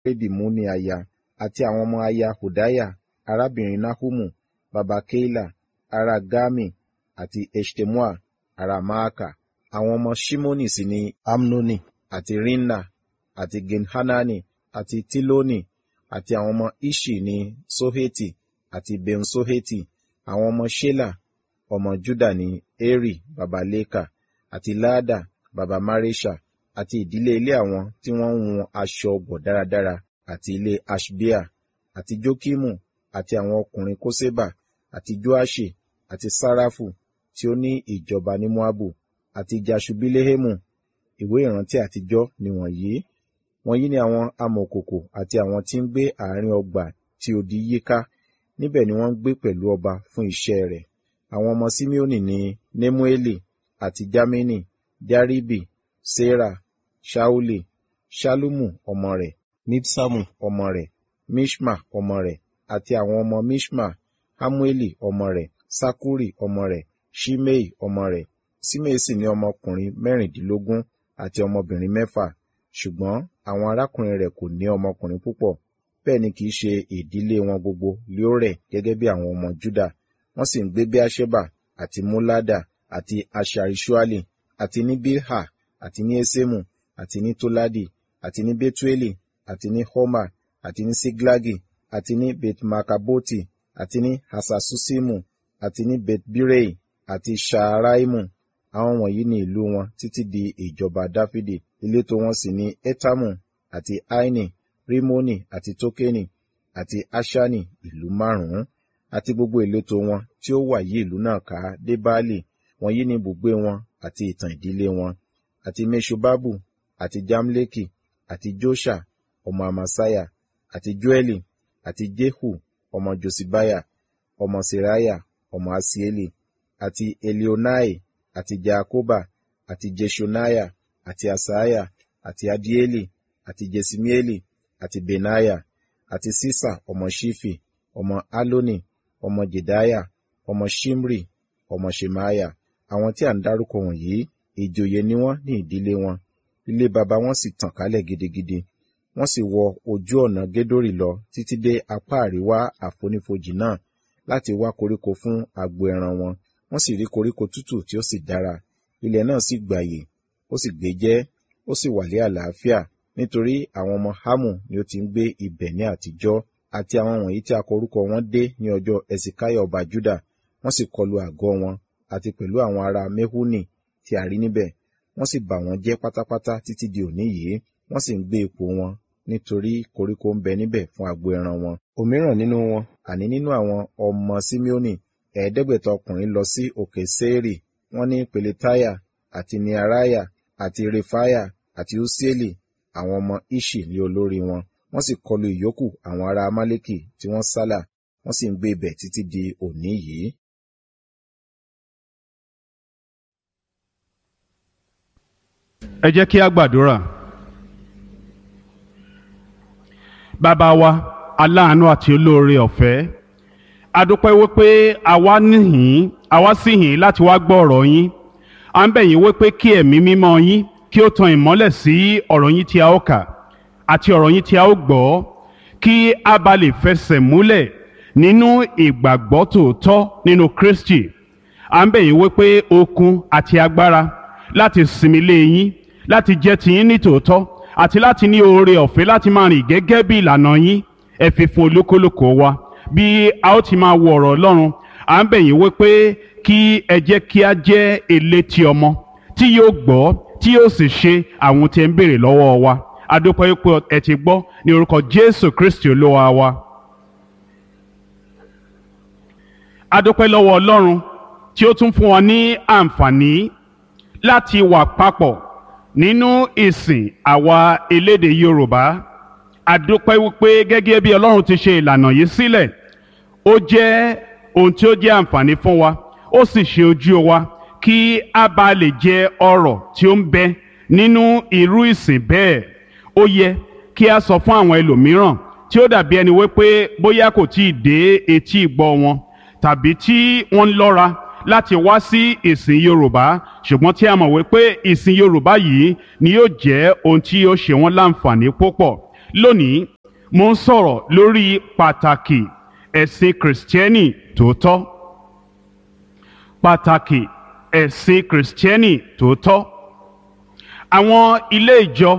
Kalebi mú ní aya, àti àwọn ọmọ aya Hodiah arábìnrin Nahumu, baba Keila, ará Garmi, àti Eṣtemoa ará Maaka. Àwọn ọmọ Ṣimoni sì ni Amnoni, àti Rinna, àti Gin-Hanani, àti Tiloni, àti àwọn ọmọ Iṣi ní Ṣoheti àti Ben-Ṣoheti. Àwọn ọmọ Ṣela ọmọ Juda ní Eri baba Leka, àti Laada baba Maresha, àti ìdílé ilé àwọn tí wọ́n ń hun aṣọ ọ̀gbọ̀ dáradára, àti ilé Aṣbea, àti Jokimu, àti àwọn ọkùnrin Koseba, àti Joaṣi, àti Sarafu tí ó ní ìjọba ní Moabu, àti Jaṣubilehemu. Ìwé ìrántí àtijọ́ nìwọ̀nyí. Wọ̀nyí ni àwọn amọ̀kòkò àti àwọn tí ń gbé àárín ọgbà tí odi yíká, níbẹ̀ ni wọ́n ń gbé pẹ̀lú ọba fún iṣẹ́ rẹ̀. Àwọn ọmọ Simeoni ní Nemueli, àti Jamini, Jaribi, Sera, Ṣauli, Ṣallumu ọmọ rẹ̀, Mibsamu ọmọ rẹ̀, Miṣma ọmọ rẹ̀, àti àwọn ọmọ Miṣma, Hamueli ọmọ rẹ̀, Sakkuri ọmọ rẹ̀, Ṣimei ọmọ rẹ̀. Ṣimei sì ní ọmọkùnrin mẹ́rìndínlógún àti ọmọbìnrin mẹ́fà, ṣùgbọ́n àwọn arákùnrin rẹ̀ kò ní ọmọkùnrin púpọ̀, bẹ́ẹ̀ ni kì í ṣe ìdílé wọn gbogbo lé ó rẹ̀ gẹ́gẹ́ bí àwọn ọmọ Juda. Wọ́n sì ń gbé Beerṣeba àti Molada àti Haṣari-Ṣuali, àti ní Bilha, àti ní Esemu, àti ní Toladi, àti ní Betueli, àti ní Horma, àti ní Siglagi, àti ní Bet-Markaboti, àti ní Haṣaṣusimu, àti ní Bet-Birei, àti Ṣaaraimu. Àwọn wọ̀nyí ni ìlú wọn títí di ìjọba Dafidi. Ìletò wọn sì ní Etamu, àti Aini, Rimoni, àti Tokeni, àti Aṣani, ìlú márùn-ún, àti gbogbo ìletò wọn tí ó wà yí ìlú náà ká dé Baali. Wọ̀nyí ni ibùgbé wọn àti ìtàn ìdílé wọn. Àti Meṣobabu, àti Jamleki, àti Joṣa ọmọ Amasiah, àti Joẹli, àti Jehu ọmọ Josibiah, ọmọ Seraiah, ọmọ Asieli, àti Elioenai, àti Jaakoba, àti Jeṣoniah, àti Asaiah, àti Adieli, àti Jesimieli, àti Benaiah, àti Ṣiṣa ọmọ Ṣifi, ọmọ Aloni, ọmọ Jedaiah, ọmọ Ṣimri, ọmọ Ṣemaiah. Àwọn tí à ń dárúkọ wọ̀nyí, ìjòyè ni wọ́n ní ìdílé wọn. Ilé baba wọn sì tàn kálẹ̀ gidigidi. Wọ́n sì wọ ojú ọ̀nà Gedori lọ títí dé apá àríwá àfonífojì náà láti wá koríko fún agbo ẹran wọn. Wọ́n sì rí koríko tútù tí ó sì dára. Ilẹ̀ náà sì gbàyè, ó sì gbéjẹ́, ó sì wà ní àlàáfíà, nítorí àwọn ọmọ Hámù ni ó ti ń gbé ibẹ̀ ní àtijọ́. Àti àwọn wọ̀nyí tí a kọ orúkọ wọn dé ní ọjọ́ Hesekiah ọba Juda, wọ́n sì kọlu àgọ́ wọn, àti pẹ̀lú àwọn ará Mehuni tí a rí níbẹ̀. Wọ́n sì bà wọ́n jẹ́ pátápátá títí di òní yìí, wọ́n sì ń gbé ipò wọn, nítorí koríko ń bẹ níbẹ̀ fún agbo ẹran wọn. Òmíràn nínú wọn, àní nínú àwọn ọmọ Simeoni, 500 ọkùnrin lọ sí òkè Seiri, wọ́n ní Peletiah, àti Neariah, àti Refaiah, àti Usieli, àwọn ọmọ Iṣi ní olórí wọn. Wọ́n sì kọlu ìyókù àwọn ará Amaleki tí wọ́n sálà, wọ́n sì ń gbé ibẹ̀ títí di òní yìí. Ẹ jẹ́ kí a gbàdúrà. Bàbá wa, aláàánú àti olóore ọ̀fẹ́, a dúpẹ́ wípé àwa níhìn, àwa sì hìn láti wá gbọ́ ọ̀rọ̀ yín. À ń bẹ̀ yín wípé kí ẹ̀mí mímọ́ yín kí ó tan ìmọ́lẹ̀ sí ọ̀rọ̀ yín tí a ó kà àti ọ̀rọ̀ yín tí a ó gbọ́, kí a bá lè fẹsẹ̀ múlẹ̀ nínú ìgbàgbọ́ tòótọ́ nínú Kristi. À ń bẹ̀ yín wípé okun àti agbára láti sinmi lé yín, láti jẹ́ tiyín ní tòótọ́, àti láti ní oore ọ̀fẹ́ láti máa rìn gẹ́gẹ́ bí ìlànà yín, ẹ fi fún olúkúlùkù wa bí a ó ti máa wo ọ̀rọ̀ Ọlọ́run. À ń bẹ̀ yín wípé kí ẹ jẹ́ kí a jẹ́ elétí ọmọ tí yóò gbọ́, tí yóò sì ṣe àwọn tí ẹ ń béèrè lọ́wọ́ wa. A dúpẹ́ wípé ẹ ti gbọ́ ní orúkọ Jésù Kristi Olúwa wa. A dúpẹ́ lọ́wọ́ Ọlọ́run tí ó tún fún wa ní àǹfààní láti wà papọ̀ nínú ìsìn àwa elédè Yorùbá. A dúpẹ́ wípé gẹ́gẹ́ bí Ọlọ́run ti ṣe ìlànà yìí sílẹ̀, ó jẹ́ ohun tí ó jẹ́ àǹfààní fún wa, ó sì ṣe ojú wa kí a bá lè jẹ ọrọ̀ tí ó ń bẹ nínú irú ìsìn bẹ́ẹ̀. Ó yẹ kí a sọ fún àwọn ẹlòmíràn tí ó dàbí ẹni wípé bóyá kò tí ì dé etí ìgbọ́ wọn, tàbí tí wọ́n ń lọ́ra láti wá sí ìsìn Yorùbá, ṣùgbọ́n tí a mọ̀ wípé ìsìn Yorùbá yìí ni yóò jẹ́ ohun tí yóò ṣe wọ́n láǹfààní púpọ̀. Lónìí, Mo ń sọ̀rọ̀ lórí pàtàkì ẹ̀sìn Kìrìsìtẹ́nì tòótọ́. Pàtàkì ẹ̀sìn Kìrìsìtẹ́nì tòótọ́. Àwọn ilé ìjọ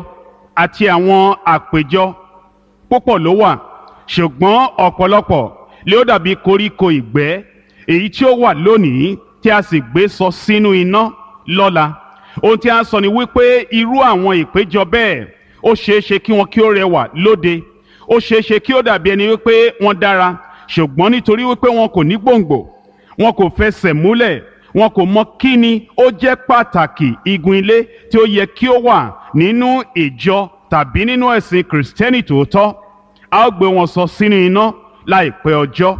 àti àwọn àpèjọ púpọ̀ ló wà, ṣùgbọ́n ọ̀pọ̀lọpọ̀ lé ó dàbí koríko ìgbẹ́ èyí tí ó wà lónìí tí a sì gbé sọ sínú iná lọ́la. Ohun tí a ń sọ ni wípé irú àwọn ìpéjọ bẹ́ẹ̀, ó ṣeé ṣe kí wọn kí ó rẹwà lóde, ó ṣeé ṣe kí ó dàbí ẹni wípé wọ́n dára, ṣùgbọ́n nítorí wípé wọn kò ní gbòǹgbò, wọn kò fẹsẹ̀ múlẹ̀, wọn kò mọ kí ni ó jẹ́ pàtàkì igun ilé tí ó yẹ kí ó wà nínú ìjọ tàbí nínú ẹ̀sìn Kìrìsìtẹ́nì tòótọ́, a ó gbé wọn sọ sínú iná láìpẹ́ ọjọ́.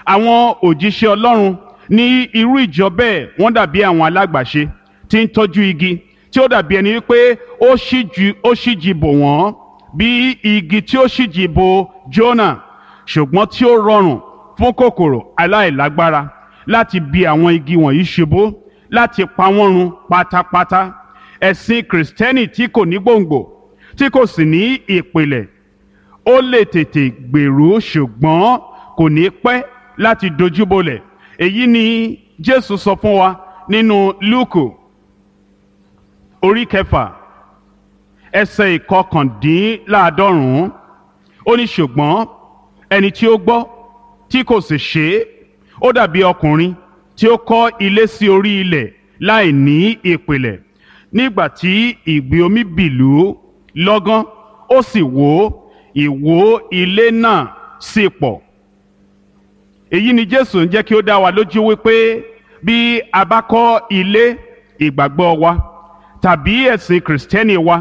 Àwọn òjíṣẹ́ Ọlọ́run ní irú ìjọ bẹ́ẹ̀, wọ́n dàbí àwọn alágbàṣe tí ń tọ́jú igi tí ó dàbí ẹni wípé ó ṣíji bò wọ́n bí igi tí ó ṣíji bò Jónà, ṣùgbọ́n tí ó rọrùn fún kòkòrò aláìlágbára láti bi àwọn igi wọ̀nyí ṣubú, láti pa wọ́n run pátápátá. Ẹ̀sìn Kìrìsìtẹ́nì tí kò ní gbòǹgbò, tí kò sì ní ìpìlẹ̀, ó lè tètè gbèrú, ṣùgbọ́n kò ní pẹ́ láti dojúbolẹ̀. Èyí ni Jésù sọ fún wa nínú Lúùkù orí 6 ẹsẹ̀ 89. Ó ní, ṣùgbọ́n ẹni tí ó gbọ́ tí kò sì ṣe é, ó dàbí ọkùnrin tí ó kọ́ ilé sí orí ilẹ̀ láì ní ìpìlẹ̀. Nígbà tí ìgbì omi bìlú lọ́gán, ó sì wó, ìwó ilé náà sì pọ̀. Èyí ni Jésù ń jẹ́ kí ó dá wa lójú wípé bí a bá kọ́ ilé ìgbàgbọ́ wa tàbí ẹ̀sìn Kìrìsìtẹ́nì wa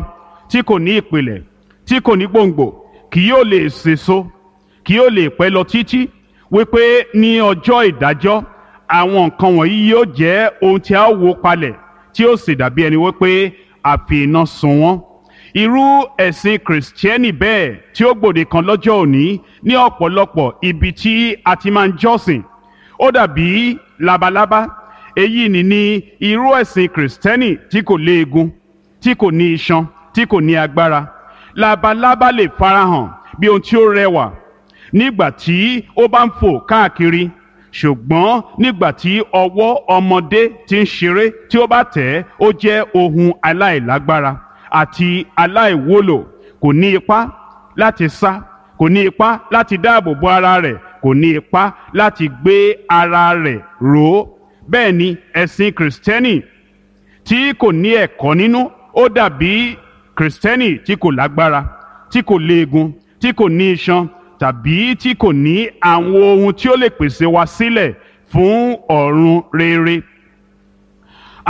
tí kò ní ìpìlẹ̀, tí kò ní gbòǹgbò, kì yóò lè sèso, kì yóò lè pẹ́ lọ títí, wípé ní ọjọ́ ìdájọ́ àwọn nǹkan wọ̀nyí yóò jẹ́ ohun tí a ó wó palẹ̀, tí ó sì dàbí ẹni wípé a fi iná sun wọ́n. Irú ẹ̀sìn Kìrìsìtẹ́nì bẹ́ẹ̀ tí ó gbòde kan lọ́jọ́ òní ní ọ̀pọ̀lọpọ̀ ibi tí a ti máa ń jọ́sìn, ó dàbí labalábá. Èyí ni ní irú ẹ̀sìn Kìrìsìtẹ́nì tí kò léegun, tí kò ní iṣan, tí kò ní agbára. Labalábá lè farahàn bí ohun tí ó rẹwà nígbà tí ó bá ń fò káàkiri, ṣùgbọ́n nígbà tí ọwọ́ ọmọdé ti ń ṣeré tí ó bá tẹ̀ ẹ́, ó jẹ́ ohun aláìlágbára àti aláìwúlò. Kò ní ipá láti sá, kò ní ipá láti dáàbò bo ara rẹ̀, kò ní ipá láti gbé ara rẹ̀ ró. Bẹ́ẹ̀ ni ẹ̀sìn Kìrìsìtẹ́nì tí kò ní ẹ̀kọ́ nínú, ó dàbí Kìrìsìtẹ́nì tí kò lágbára, tí kò léegun, tí kò ní iṣan tàbí tí kò ní àwọn ohun tí ó lè pèsè wa sílẹ̀ fún ọ̀run rere.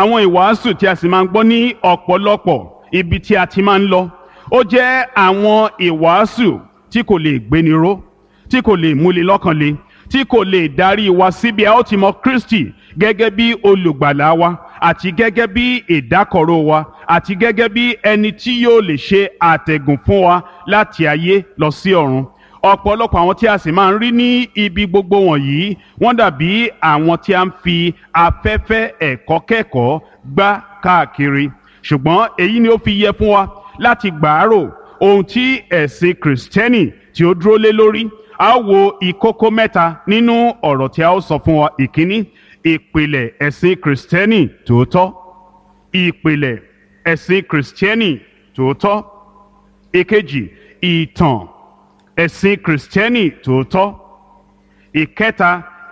Àwọn ìwàásù tí a sì máa ń gbọ́ ní ọ̀pọ̀lọpọ̀ ibi tí a ti máa ń lọ, ó jẹ́ àwọn ìwàásù tí kò lè gbéni ró, tí kò lè múni lọ́kàn le, tí kò lè darí wa síbi a ó ti mọ Kristi gẹ́gẹ́ bí olùgbàlà wa àti gẹ́gẹ́ bí ìdákọ̀ró wa àti gẹ́gẹ́ bí ẹni tí yóò lè ṣe àtẹ̀gùn fún wa láti ayé lọ sí ọ̀run. Ọ̀pọ̀lọpọ̀ àwọn tí a sì máa ń rí ní ibi gbogbo wọ̀nyí, wọ́n dàbí àwọn tí a ń fi afẹ́fẹ́ ẹ̀kọ́ kẹ́kọ̀ọ́ gbá káàkiri. Ṣùgbọ́n èyí ni ó fi yẹ fún wa láti gbàárò ohun tí ẹ̀sìn Kìrìsìtẹ́nì tí ó dúró lé lórí. A ó wo ìkókó mẹ́ta nínú ọ̀rọ̀ tí a ó sọ fún wa. Ìkíní, ìpìlẹ̀ ẹ̀sìn Kìrìsìtẹ́nì tòótọ́. Ìpìlẹ̀ ẹ̀sìn Kìrìsìtẹ́nì tòótọ́. Ìkejì, ìtàn ẹ̀sìn Kìrìsìtẹ́nì tòótọ́. Ìkẹta,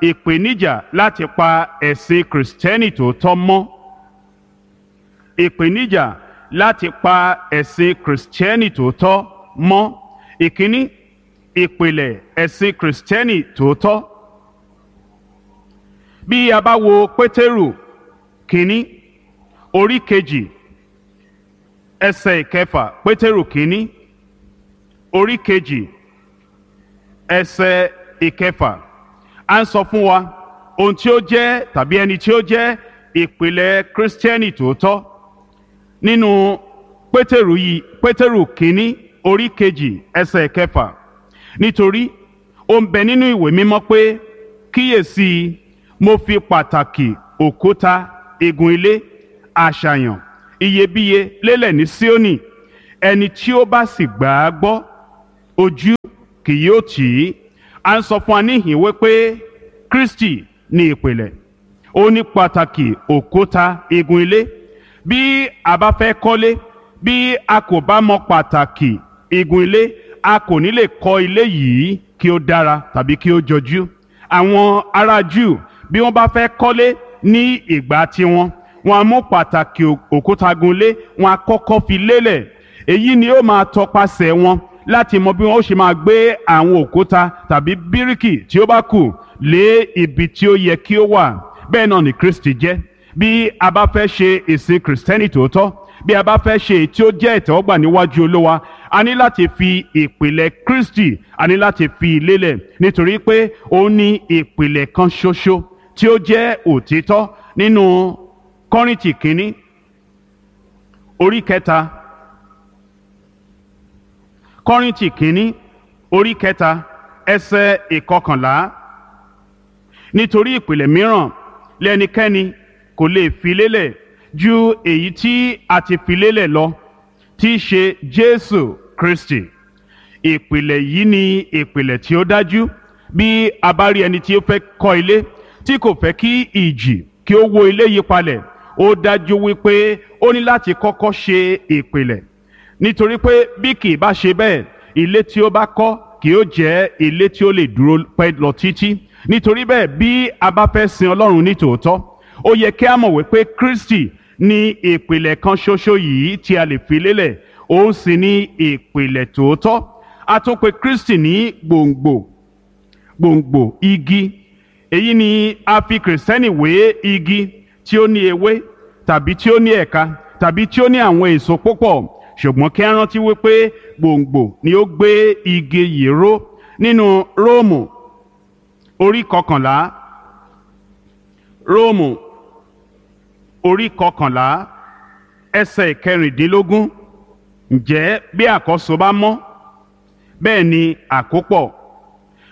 ìpèníjà láti pa ẹ̀sìn Kìrìsìtẹ́nì tòótọ́ mọ́. Ìpèníjà láti pa ẹ̀sìn Kìrìsìtẹ́nì tòótọ́ mọ́. Ìkíní, ìpìlẹ̀ ẹ̀sìn Kìrìsìtẹ́nì tòótọ́. Bí a bá wo Pétérù kínní orí 2 ẹsẹ̀ 6, Pétérù kínní orí 2 ẹsẹ̀ 6, à ń sọ fún wa ohun tí ó jẹ́ tàbí ẹni tí ó jẹ́ ìpìlẹ̀ Kìrìsìtẹ́nì tòótọ́. Nínú Pétérù yìí, Pétérù kínní orí 2 ẹsẹ̀ 6, nítorí ó ń bẹ nínú ìwé mímọ́ pé, kíyèsí, mo fi pàtàkì òkúta igun ilé àṣàyàn iyebíye lélẹ̀ ní Síónì, ẹni tí ó bá sì gbà á gbọ́, ojú kì yóò tì í. A ń sọ fún wa níhìn wípé Kristi ní ìpìlẹ̀, ó ní pàtàkì òkúta igun ilé. Bí a bá fẹ́ kọ́lé, bí a kò bá mọ pàtàkì igun ilé, a kò ní lè kọ́ ilé yìí kí ó dára tàbí kí ó jọjú. Àwọn ará Júù, bí wọ́n bá fẹ́ kọ́lé ní ìgbà tiwọn, wọ́n á mú pàtàkì òkúta gun ilé, wọ́n á kọ́kọ́ fi lélẹ̀. Èyí ni ó máa tọpasẹ̀ wọn láti mọ bí wọn ó ṣe máa gbé àwọn òkúta tàbí bíríkì tí ó bá kù lé ibi tí ó yẹ kí ó wà. Bẹ́ẹ̀ náà ni Kristi jẹ́. Bí a bá fẹ́ ṣe ìsìn Kìrìsìtẹ́nì tòótọ́, bí a bá fẹ́ ṣe èyí tí ó jẹ́ ìtẹ́wọ́gbà níwájú Olúwa, a ní láti fi ìpìlẹ̀ Kristi, a ní láti fi lélẹ̀, nítorí pé ó ní ìpìlẹ̀ kan ṣoṣo tí ó jẹ́ òtítọ́. Nínú Kọ́ríńtì kínní orí 3, Kọ́ríńtì kínní orí 3 ẹsẹ̀ 11, nítorí ìpìlẹ̀ mìíràn lẹ́nikẹ́ni kò lè fi lélẹ̀ ju èyí tí a ti fi lélẹ̀ lọ, tí í ṣe Jésù Kristi. Ìpìlẹ̀ yìí ni ìpìlẹ̀ tí ó dájú. Bí a bá rí ẹni tí ó fẹ́ kọ́ ilé tí kò fẹ́ kí ìjì kí ó wó ilé yìí palẹ̀, ó dájú wípé ó ní láti kọ́kọ́ ṣe ìpìlẹ̀, nítorí pé bí kì í bá ṣe bẹ́ẹ̀, ilé tí ó bá kọ́ kì yóò jẹ́ ilé tí ó lè dúró pẹ́ lọ títí. Nítorí bẹ́ẹ̀, bí a bá fẹ́ sin Ọlọ́run ní tòótọ́, ó yẹ kí a mọ̀ wípé Kristi ní ìpìlẹ̀ kan ṣoṣo yìí tí a lè fi lélẹ̀, òun sì ní ìpìlẹ̀ tòótọ́. A tún pè Kristi ní gbòǹgbò, gbòǹgbò igi. Èyí ni a fi Kìrìsìtẹ́nì wé igi tí ó ní ewé tàbí tí ó ní ẹ̀ka tàbí tí ó ní àwọn èso púpọ̀, ṣùgbọ́n kí a rántí wípé gbòǹgbò ni ó gbé igi yìí ró. Nínú Róòmù orí 11, Róòmù orí 11 ẹsẹ̀ 16, ǹjẹ́ bí àkọ́so bá mọ́, bẹ́ẹ̀ ni àkópọ̀;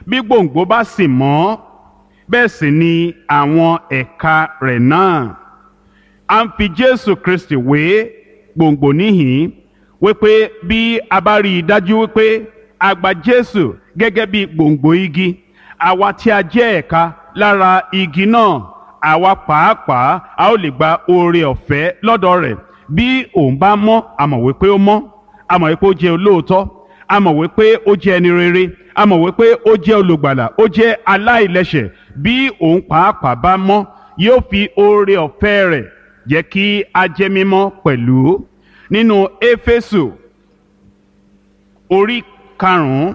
bí gbòǹgbò bá sì mọ́, bẹ́ẹ̀ sì ni àwọn ẹ̀ka rẹ̀ náà. A ń fi Jésù Kristi wé gbòǹgbò níhìn wípé bí a bá rí i dájú wípé a gba Jésù gẹ́gẹ́ bí gbòǹgbò igi, àwa tí a jẹ́ ẹ̀ka lára igi náà, àwa pàápàá a ó lè gba oore ọ̀fẹ́ lọ́dọ̀ rẹ̀. Bí òun bá mọ́, a mọ̀ wípé ó mọ́, a mọ̀ wípé ó jẹ́ olóòótọ́, a mọ̀ wípé ó jẹ́ ẹni rere, a mọ̀ wípé ó jẹ́ olùgbàlà, ó jẹ́ aláìlẹ́ṣẹ̀. Bí òun pàápàá bá mọ́, yóò fi oore ọ̀fẹ́ rẹ̀ jẹ́ kí a jẹ́ mímọ́ pẹ̀lú. Nínú Éfésù orí 5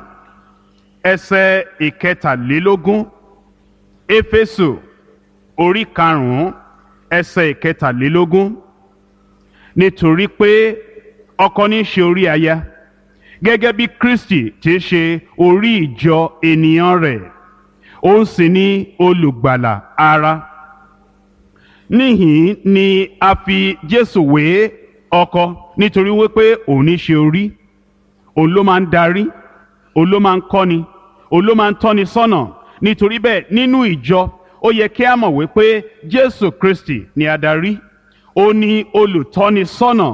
ẹsẹ̀ 23, Éfésù orí 5 ẹsẹ̀ 23, nítorí pé ọkọ ní í ṣe orí aya, gẹ́gẹ́ bí Kristi ti ṣe orí ìjọ ènìyàn rẹ̀, òun sì ni olùgbàlà ara. Níhìn ni a fi Jésù wé ọkọ, nítorí wípé òun ní ṣe orí, òun ló máa ń darí, òun ló máa ń kọ́ni, òun ló máa ń tọ́ni sọ́nà. Nítorí bẹ́ẹ̀, nínú ìjọ ó yẹ kí a mọ̀ wípé Jésù Kristi ni adarí, ó ní olùtọ́ni sọ́nà,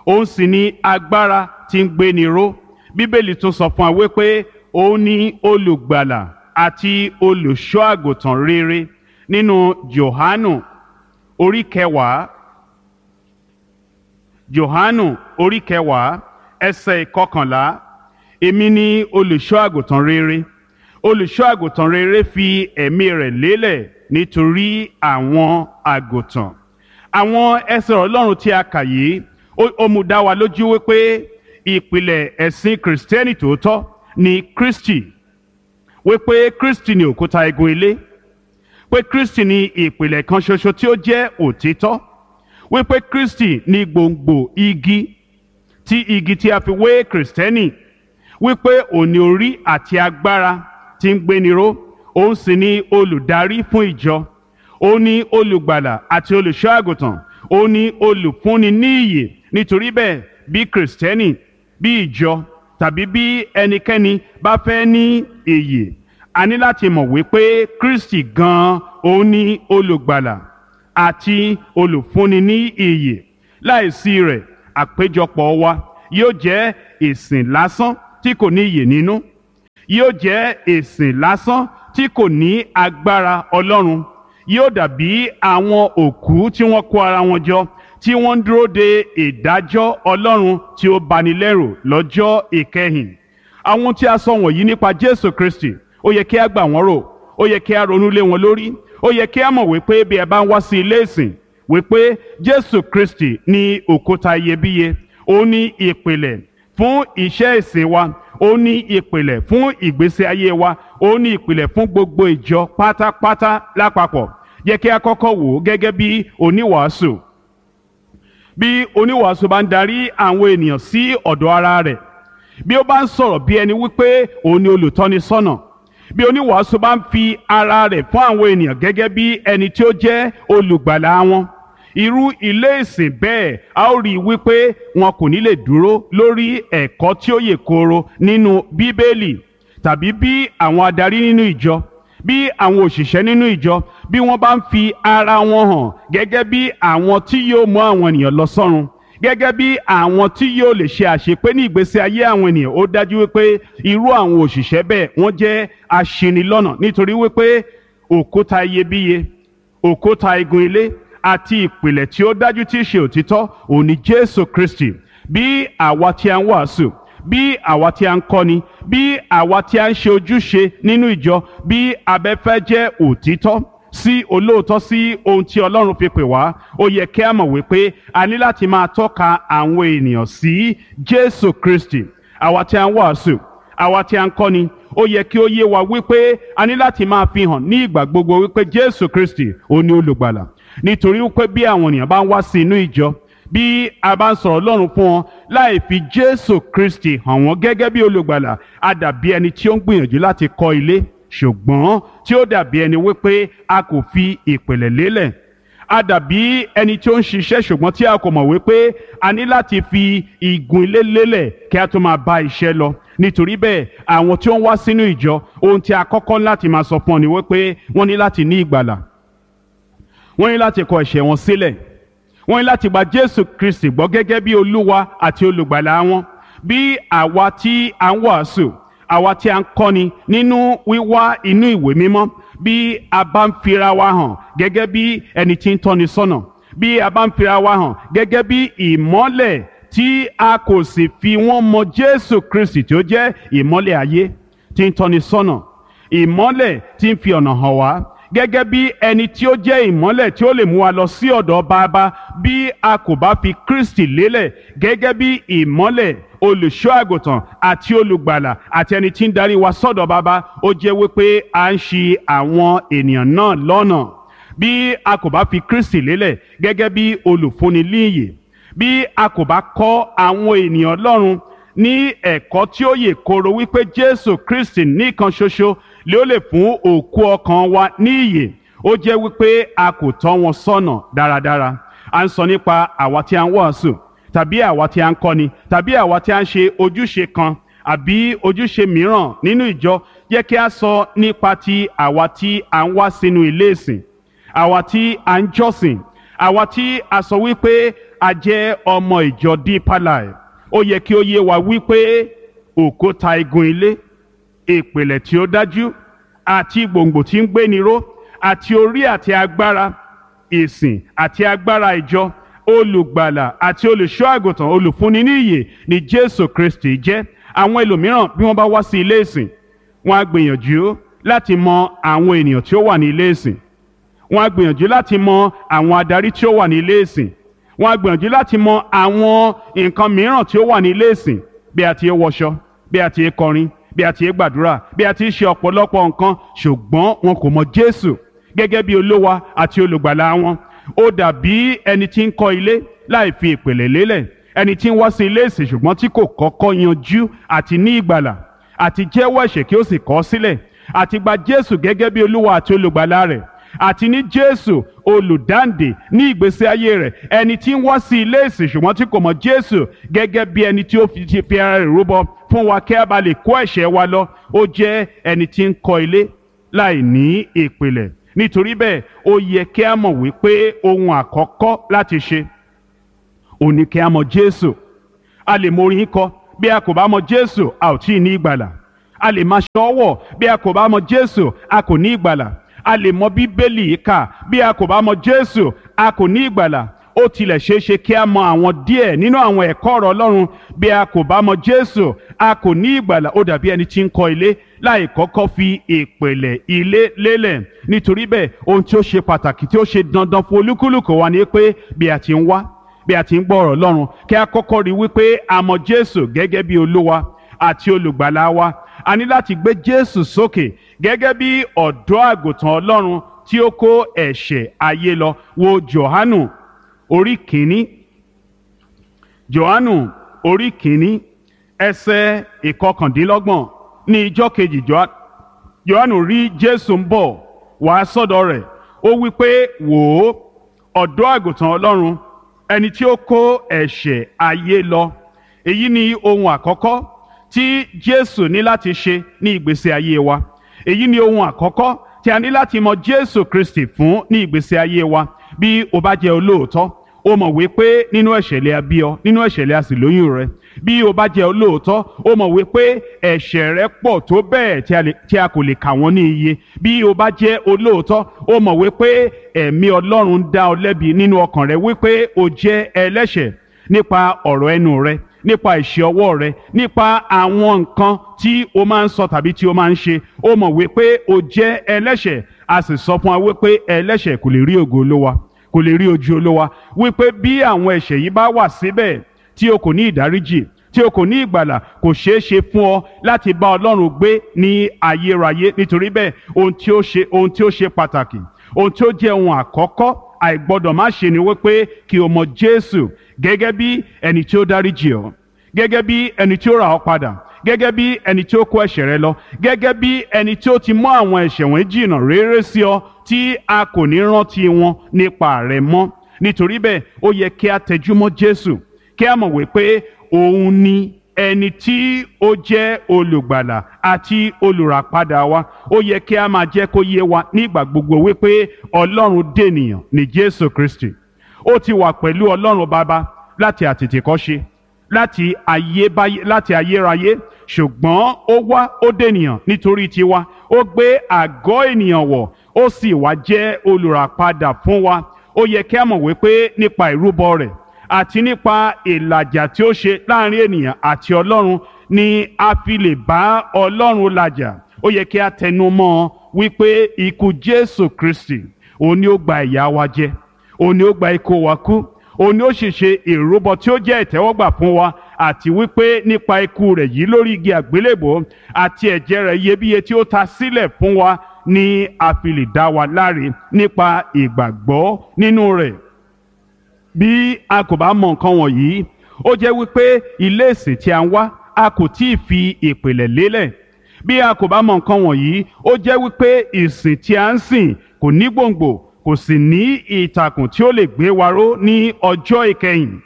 òun sì ní agbára tí ń gbéni ró. Bíbélì tún sọ fún wa wípé òun ní olùgbàlà àti olùṣọ́ àgùntàn rere. Nínú Jòhánù orí 10, Jòhánù orí 10 ẹsẹ̀ 11, èmi ni olùṣọ́ àgùntàn rere. Olùṣọ́ àgùntàn rere fi ẹ̀mí rẹ̀ lélẹ̀ nítorí àwọn àgùntàn. Àwọn ẹsẹ̀ Ọlọ́run tí a kà yìí, ó mú dá wa lójú wípé ìpìlẹ̀ ẹ̀sìn Kìrìsìtẹ́nì tòótọ́ ni Kristi, wípé Kristi ni òkúta igun ilé, pé Kristi ni ìpìlẹ̀ kan ṣoṣo tí ó jẹ́ òtítọ́, wípé Kristi ni gbòǹgbò igi tí igi tí a fi wé Kìrìsìtẹ́nì, wípé òní orí àti agbára tí ń gbéni ró, òun sì ni olùdarí fún ìjọ, òun ni olùgbàlà àti olùṣọ́ àgùntàn, òun ni olùfúnni ní ìyè. Nítorí bẹ́ẹ̀, bí Kìrìsìtẹ́nì, bí ìjọ tàbí bí ẹnikẹ́ni bá fẹ́ ní ìyè, a ní láti mọ̀ wípé Kristi gan-an òun ni olùgbàlà àti olùfúnni ní ìyè. Láìsí rẹ̀, àpéjọpọ̀ wa yóò jẹ́ ìsìn lásán tí kò ní ìyè nínú. Yóò jẹ́ ìsìn lásán tí kò ní agbára Ọlọ́run. Yóò dàbí àwọn òkú tí wọ́n kó ara wọn jọ, tí wọ́n ń dúró de ìdájọ́ Ọlọ́run tí ó bani lẹ́rù lọ́jọ́ ìkẹyìn. Àwọn tí a sọ wọ̀nyí nípa Jésù Kristi, ó yẹ kí a gbà wọ́n rò, ó yẹ kí a ronú lé wọn lórí. Ó yẹ kí a mọ̀ wípé bí ẹ bá ń wá sí ilé ìsìn, wípé Jésù Kristi ní òkúta iyebíye, ó ní ìpìlẹ̀ fún iṣẹ́ ìsìn wa, ó ní ìpìlẹ̀ fún ìgbésí ayé wa, ó ní ìpìlẹ̀ fún gbogbo ìjọ pátápátá lápapọ̀. Yẹ kí a kọ́kọ́ wò ó gẹ́gẹ́ bí oníwàásù. Bí oníwàásù bá ń darí àwọn ènìyàn sí ọ̀dọ̀ ara rẹ̀, bí ó bá ń sọ̀rọ̀ bí ẹni wípé òun ni olùtọ́nisọ́nà, bí oníwàásù bá ń fi ara rẹ̀ fún àwọn ènìyàn gẹ́gẹ́ bí ẹni tí ó jẹ́ olùgbàlà wọn, irú ilé ìsìn bẹ́ẹ̀, a ó rí i wípé wọn kò ní lè dúró lórí ẹ̀kọ́ tí ó yè kooro nínú Bíbélì. Tàbí bí àwọn adarí nínú ìjọ, bí àwọn òṣìṣẹ́ nínú ìjọ, bí wọ́n bá ń fi ara wọn hàn gẹ́gẹ́ bí àwọn tí yóò mú àwọn ènìyàn lọ sọ́run, gẹ́gẹ́ bí àwọn tí yóò lè ṣe àṣepé ní ìgbésí ayé àwọn ènìyàn, ó dájú wípé irú àwọn òṣìṣẹ́ bẹ́ẹ̀, wọ́n jẹ́ aṣinilọ́nà, nítorí wípé òkúta iyebíye, òkúta igun ilé àti ìpìlẹ̀ tí ó dájú tí í ṣe òtítọ́ òun ni Jésù Kristi. Bí àwa tí a ń wàásù, bí àwa tí a ń kọ́ni, bí àwa tí a ń ṣe ojúṣe nínú ìjọ, bí abẹ́fẹ́ jẹ́ òtítọ́ sí olóòótọ́ sí ohun tí Ọlọ́run fi pè wá, ó yẹ kí a mọ̀ wípé a ní láti máa tọ́ka àwọn ènìyàn sí Jésù Kristi. Àwa tí a ń wàásù, àwa tí a ń kọ́ni, ó yẹ kí ó yé wa wípé a ní láti máa fi hàn ní ìgbà gbogbo wípé Jésù Kristi òun ni olùgbàlà. Nítorí wípé bí àwọn ènìyàn bá ń wá sí inú ìjọ, bí a bá ń sọ̀rọ̀ Ọlọ́run fún wọn láì fi Jésù Kristi hàn wọ́n gẹ́gẹ́ bí olùgbàlà, a dàbí ẹni tí ó ń gbìyànjú láti kọ́ ilé, ṣùgbọ́n tí ó dàbí ẹni wípé a kò fi ìpìlẹ̀ lélẹ̀. A dàbí ẹni tí ó ń ṣiṣẹ́, ṣùgbọ́n tí a kò mọ̀ wípé a ní láti fi igun ilé lélẹ̀ kí a tó máa bá iṣẹ́ lọ. Nítorí bẹ́ẹ̀, àwọn tí ó ń wá sínú ìjọ, ohun tí a kọ́kọ́ láti máa sọ fún ọ ni wípé wọ́n ní láti ní ìgbàlà, wọ́n ní láti kọ ẹ̀ṣẹ̀ wọn sílẹ̀, wọ́n ní láti gba Jésù Kristi gbọ́ gẹ́gẹ́ bí Olúwa àti olùgbàlà wọn. Bí àwa tí a ń wàásù, àwa tí a ń kọ́ni nínú wíwá inú ìwé mímọ́, bí a bá ń fira wa hàn gẹ́gẹ́ bí ẹni tí ń tọ́ni sọ́nà, bí a bá ń fira wa hàn gẹ́gẹ́ bí ìmọ́lẹ̀, tí a kò sì fi wọ́n mọ Jésù Kristi tí ó jẹ́ ìmọ́lẹ̀ ayé tí ń tọ́ni sọ́nà, ìmọ́lẹ̀ tí ń fi ọ̀nà hàn wá, gẹ́gẹ́ bí ẹni tí ó jẹ́ ìmọ́lẹ̀ tí ó lè mú wa lọ sí ọ̀dọ̀ Bàbá, bí a kò bá fi Kristi lélẹ̀ gẹ́gẹ́ bí ìmọ́lẹ̀, olùṣọ́ àgùntàn àti olùgbàlà àti ẹni tí ń darí wa sọ́dọ̀ Bàbá, ó jẹ́ wípé à ń ṣì àwọn ènìyàn náà lọ́nà. Bí a kò bá fi Kristi lélẹ̀ gẹ́gẹ́ bí olùfúnni líyè, bí a kò bá kọ́ àwọn ènìyàn Ọlọ́run ní ẹ̀kọ́ tí ó yè kooro wípé Jésù Kristi nìkan ṣoṣo lé ó lè fún òkú ọkàn wa ní ìyè, ó jẹ́ wípé a kò tọ́ wọn sọ́nà dáradára. À ń sọ nípa àwa tí a ń wàásù, tàbí àwa tí a ń kọ́ni, tàbí àwa tí a ń ṣe ojúṣe kan àbí ojúṣe mìíràn nínú ìjọ. Jẹ́ kí a sọ nípa ti àwa tí a ń wá sínú ilé ìsìn, àwa tí a ń jọ́sìn, àwa tí a sọ wípé a jẹ́ ọmọ ìjọ Deeper Life. Ó yẹ kí ó yé wa wípé òkúta igun ilé, ìpìlẹ̀ tí ó dájú àti gbòǹgbò tí ń gbéni ró àti orí àti agbára ìsìn àti agbára ìjọ, olùgbàlà àti olùṣọ́ àgùntàn, olùfúnni ní ìyè ni Jésù Kristi jẹ́. Àwọn ẹlòmíràn, bí wọ́n bá wá sí ilé ìsìn, wọ́n á gbìyànjú láti mọ àwọn ènìyàn tí ó wà ní ilé ìsìn, wọ́n á gbìyànjú láti mọ àwọn adarí tí ó wà ní ilé ìsìn, wọ́n á gbìyànjú láti mọ àwọn nǹkan mìíràn tí ó wà ní ilé ìsìn, bí a ti ń wọṣọ, bí a ti ń kọrin, bí a ti ń gbàdúrà, bí a ti ń ṣe ọ̀pọ̀lọpọ̀ nǹkan, ṣùgbọ́n wọn kò mọ Jésù gẹ́gẹ́ bí Olúwa àti olùgbàlà wọn. Ó dàbí ẹni tí ń kọ́ ilé láì fi ìpìlẹ̀ lélẹ̀, ẹni tí ń wá sí ilé ìsìn ṣùgbọ́n tí kò kọ́kọ́ yanjú àti ní ìgbàlà àti jẹ́wọ́ ẹ̀ṣẹ̀ kí ó sì kọ̀ ọ́ sílẹ̀, àti gba Jésù gẹ́gẹ́ bí Olúwa àti olùgbàlà rẹ̀, àti ní Jésù olùdáǹdè ní ìgbésí ayé rẹ̀. Ẹni tí ń wá sí ilé ìsìn ṣùgbọ́n tí kò mọ̀ Jésù gẹ́gẹ́ bí ẹni tí ó ti fi ara rẹ̀ rúbọ fún wa kí a bá lè kó ẹ̀ṣẹ̀ wa lọ, ó jẹ́ ẹni tí ń kọ́ ilé láì ní ìpìlẹ̀. Nítorí bẹ́ẹ̀, ó yẹ kí a mọ̀ wípé ohun àkọ́kọ́ láti ṣe òun ni kí a mọ̀ Jésù. A lè mọ orin kọ, bí a kò bá mọ̀ Jésù, a ò tí ì ní ìgbàlà. A lè máa ṣọ́wọ̀. Bí a kò bá mọ Jésù, a kò ní ìgbàlà. A lè mọ Bíbélì kà. Bí a kò bá mọ Jésù, a kò ní ìgbàlà. Ó tilẹ̀ ṣeé ṣe kí a mọ àwọn díẹ̀ nínú àwọn ẹ̀kọ́ ọ̀rọ̀ Ọlọ́run. Bí a kò bá mọ Jésù, a kò ní ìgbàlà. Ó dàbí ẹni tí ń kọ́ ilé láì kọ́kọ́ fi ìpìlẹ̀ ilé lélẹ̀. Nítorí bẹ́ẹ̀, ohun tí ó ṣe pàtàkì tí ó ṣe dandan fún olúkúlùkù wa ni pé bí a ti ń wá, bí a ti ń gbọ́ ọ̀rọ̀ Ọlọ́run, kí a kọ́kọ́ rí wípé a mọ Jésù gẹ́gẹ́ bí Olúwa àti Olùgbàlà wa. A ní láti gbé Jésù sókè gẹ́gẹ́ bí ọ̀dọ́ àgùntàn Ọlọ́run tí ó kó ẹ̀ṣẹ̀ ayé lọ. Wo Jòhánù orí kìíní. Jòhánù orí kìíní, ẹsẹ̀ 29. Ní ijọ́ kejì, Jòhánù rí Jésù ń bọ̀ wá sọ́dọ̀ rẹ̀. Ó wí pé, wò ó, ọ̀dọ́ àgùntàn Ọlọ́run, ẹni tí ó kó ẹ̀ṣẹ̀ ayé lọ. Èyí ni ohun àkọ́kọ́ tí Jésù ní láti ṣe ní ìgbésí ayé wa. Èyí ni ohun àkọ́kọ́ tí a ní láti mọ Jésù Kristi fún ní ìgbésí ayé wa. Bí o bá jẹ́ olóòótọ́, o mọ̀ wípé nínú ẹ̀ṣẹ̀ lè a bí ọ, nínú ẹ̀ṣẹ̀ lè a sì lóyún rẹ. Bí o bá jẹ́ olóòótọ́, o mọ̀ wípé ẹ̀ṣẹ̀ rẹ pọ̀ tó bẹ́ẹ̀ tí a kò lè kà wọ́n ní iye. Bí o bá jẹ́ olóòótọ́, o mọ̀ wípé ẹ̀mí Ọlọ́run ń dá ọ lẹ́bi nínú ọkàn rẹ wípé o jẹ́ ẹlẹ́ṣẹ̀ nípa ọ̀rọ̀ ẹnu rẹ, nípa ìṣe ọwọ́ rẹ, nípa àwọn nǹkan tí o máa ń sọ tàbí tí o máa ń ṣe. O mọ̀ wípé o jẹ́ ẹlẹ́ṣẹ̀. A sì sọ fún wa wípé ẹlẹ́ṣẹ̀ kò lè rí ògo Olúwa, kò lè rí ojú Olúwa, wípé bí àwọn ẹ̀ṣẹ̀ yìí bá wà síbẹ̀ tí o kò ní ìdáríjì, tí o kò ní ìgbàlà, kò ṣeé ṣe fún ọ láti bá Ọlọ́run gbé ní ayérayé. Nítorí bẹ́ẹ̀, ohun tí ó ṣe pàtàkì, ohun tí ó jẹ́ ohun àkọ́kọ́ àìgbọ́dọ̀ má ṣe ni wípé kí o mọ Jésù gẹ́gẹ́ bí ẹni tí ó dáríjì ọ́, gẹ́gẹ́ bí ẹni tí ó rà ọ́ padà, gẹ́gẹ́ bí ẹni tí ó kó ẹ̀ṣẹ̀ rẹ lọ, gẹ́gẹ́ bí ẹni tí ó ti mú àwọn ẹ̀ṣẹ̀ wọ̀nyí jìnnà réré sí ọ tí a kò ní rántí wọn nípa rẹ mọ́. Nítorí bẹ́ẹ̀, ó yẹ kí a tẹjúmọ́ Jésù, kí a mọ̀ wípé òun ni ẹni tí ó jẹ́ olùgbàlà àti olùràpadà wa. Ó yẹ kí a máa jẹ́ kó yé wa nígbà gbogbo wípé Ọlọ́run dènìyàn ní Jésù Kristi. Ó ti wà pẹ̀lú Ọlọ́run Baba láti àtètèkọ́ṣe, láti ayébáyé, láti ayérayé, ṣùgbọ́n ó wá, ó dènìyàn nítorí tiwa. Ó gbé àgọ́ ènìyàn wọ̀, ó sì wá jẹ́ olùràpadà fún wa. Ó yẹ kí a mọ̀ wípé nípa ìrúbọ rẹ̀ àti nípa ìlàjà tí ó ṣe láàrin ènìyàn àti Ọlọ́run ni a fi lè bá Ọlọ́run làjà. Ó yẹ kí a tẹnu mọ́ ọ wípé ikú Jésù Kristi, òun ni ó gba ìyà wa jẹ, òun ni ó gba ikú wa kú, òun ni ó sì ṣe ìrúbọ tí ó jẹ́ ìtẹ́wọ́gbà fún wa, àti wípé nípa ikú rẹ̀ yìí lórí igi àgbélébòó àti ẹ̀jẹ̀ rẹ̀ iyebíye tí ó ta sílẹ̀ fún wa ni a fi lè dá wa láre nípa ìgbàgbọ́ nínú rẹ̀. Bí a kò bá mọ nǹkan wọ̀nyí, ó jẹ́ wípé ilé ìsìn tí a ń wá, a kò tí ì fi ìpìlẹ̀ lélẹ̀. Bí a kò bá mọ nǹkan wọ̀nyí, ó jẹ́ wípé ìsìn tí a ń sìn kò ní gbòǹgbò, kò sì ní ìtàkùn tí ó lè gbé wa ró ní ọjọ́ ìkẹyìn.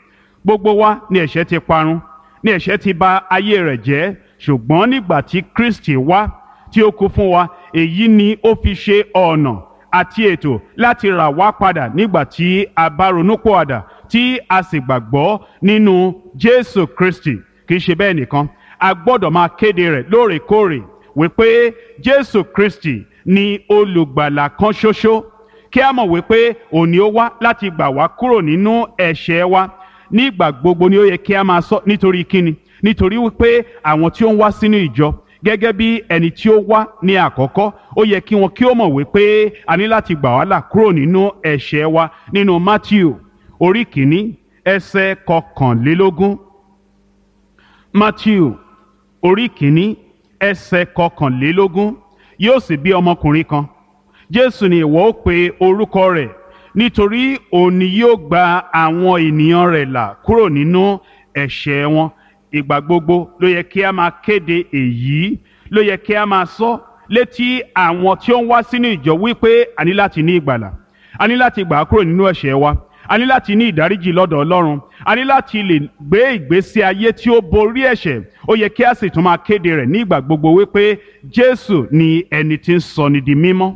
Gbogbo wa ni ẹ̀ṣẹ̀ ti parun, ni ẹ̀ṣẹ̀ ti bà ayé rẹ̀ jẹ́. Ṣùgbọ́n nígbà tí Kristi wá tí ó kú fún wa, èyí ni ó fi ṣe ọ̀nà àti ètò láti rà wá padà nígbà tí a bá ronúpìwàdà tí a sì gbàgbọ́ nínú Jésù Kristi. Kì í ṣe bẹ́ẹ̀ nìkan, a gbọ́dọ̀ máa kéde rẹ̀ lóòrèkóòrè wípé Jésù Kristi ni olùgbàlà kan ṣoṣo, kí a mọ̀ wípé òun ni ó wá láti gbà wá kúrò nínú ẹ̀ṣẹ̀ wa. Nígbà gbogbo ni ó yẹ kí a máa sọ. Nítorí kíni? Nítorí wípé àwọn tí ó ń wá sínú ìjọ gẹ́gẹ́ bí ẹni tí ó wá ní àkọ́kọ́, ó yẹ kí wọn kí ó mọ̀ wípé a ní láti gbà wá là kúrò nínú ẹ̀ṣẹ̀ wa. Nínú Matthew orí 1 ẹsẹ̀ 21. Matthew orí 1 ẹsẹ̀ 21. Yóò sì bí ọmọkùnrin kan, Jésù ni ìwọ ó pe orúkọ rẹ̀, nítorí òun ni yóò gba àwọn ènìyàn rẹ̀ là kúrò nínú ẹ̀ṣẹ̀ wọn. Ìgbà gbogbo ló yẹ kí a máa kéde èyí, ló yẹ kí a máa sọ létí àwọn tí ó ń wá sínú ìjọ wípé a ní láti ní ìgbàlà, a ní láti gbà á kúrò nínú ẹ̀ṣẹ̀ wa, a ní láti ní ìdáríjì lọ́dọ̀ Ọlọ́run, a ní láti lè gbé ìgbésí ayé tí ó borí ẹ̀ṣẹ̀. Ó yẹ kí a sì tún máa kéde rẹ̀ ní ìgbà gbogbo wípé Jésù ni ẹni tí ń sọni di mímọ́,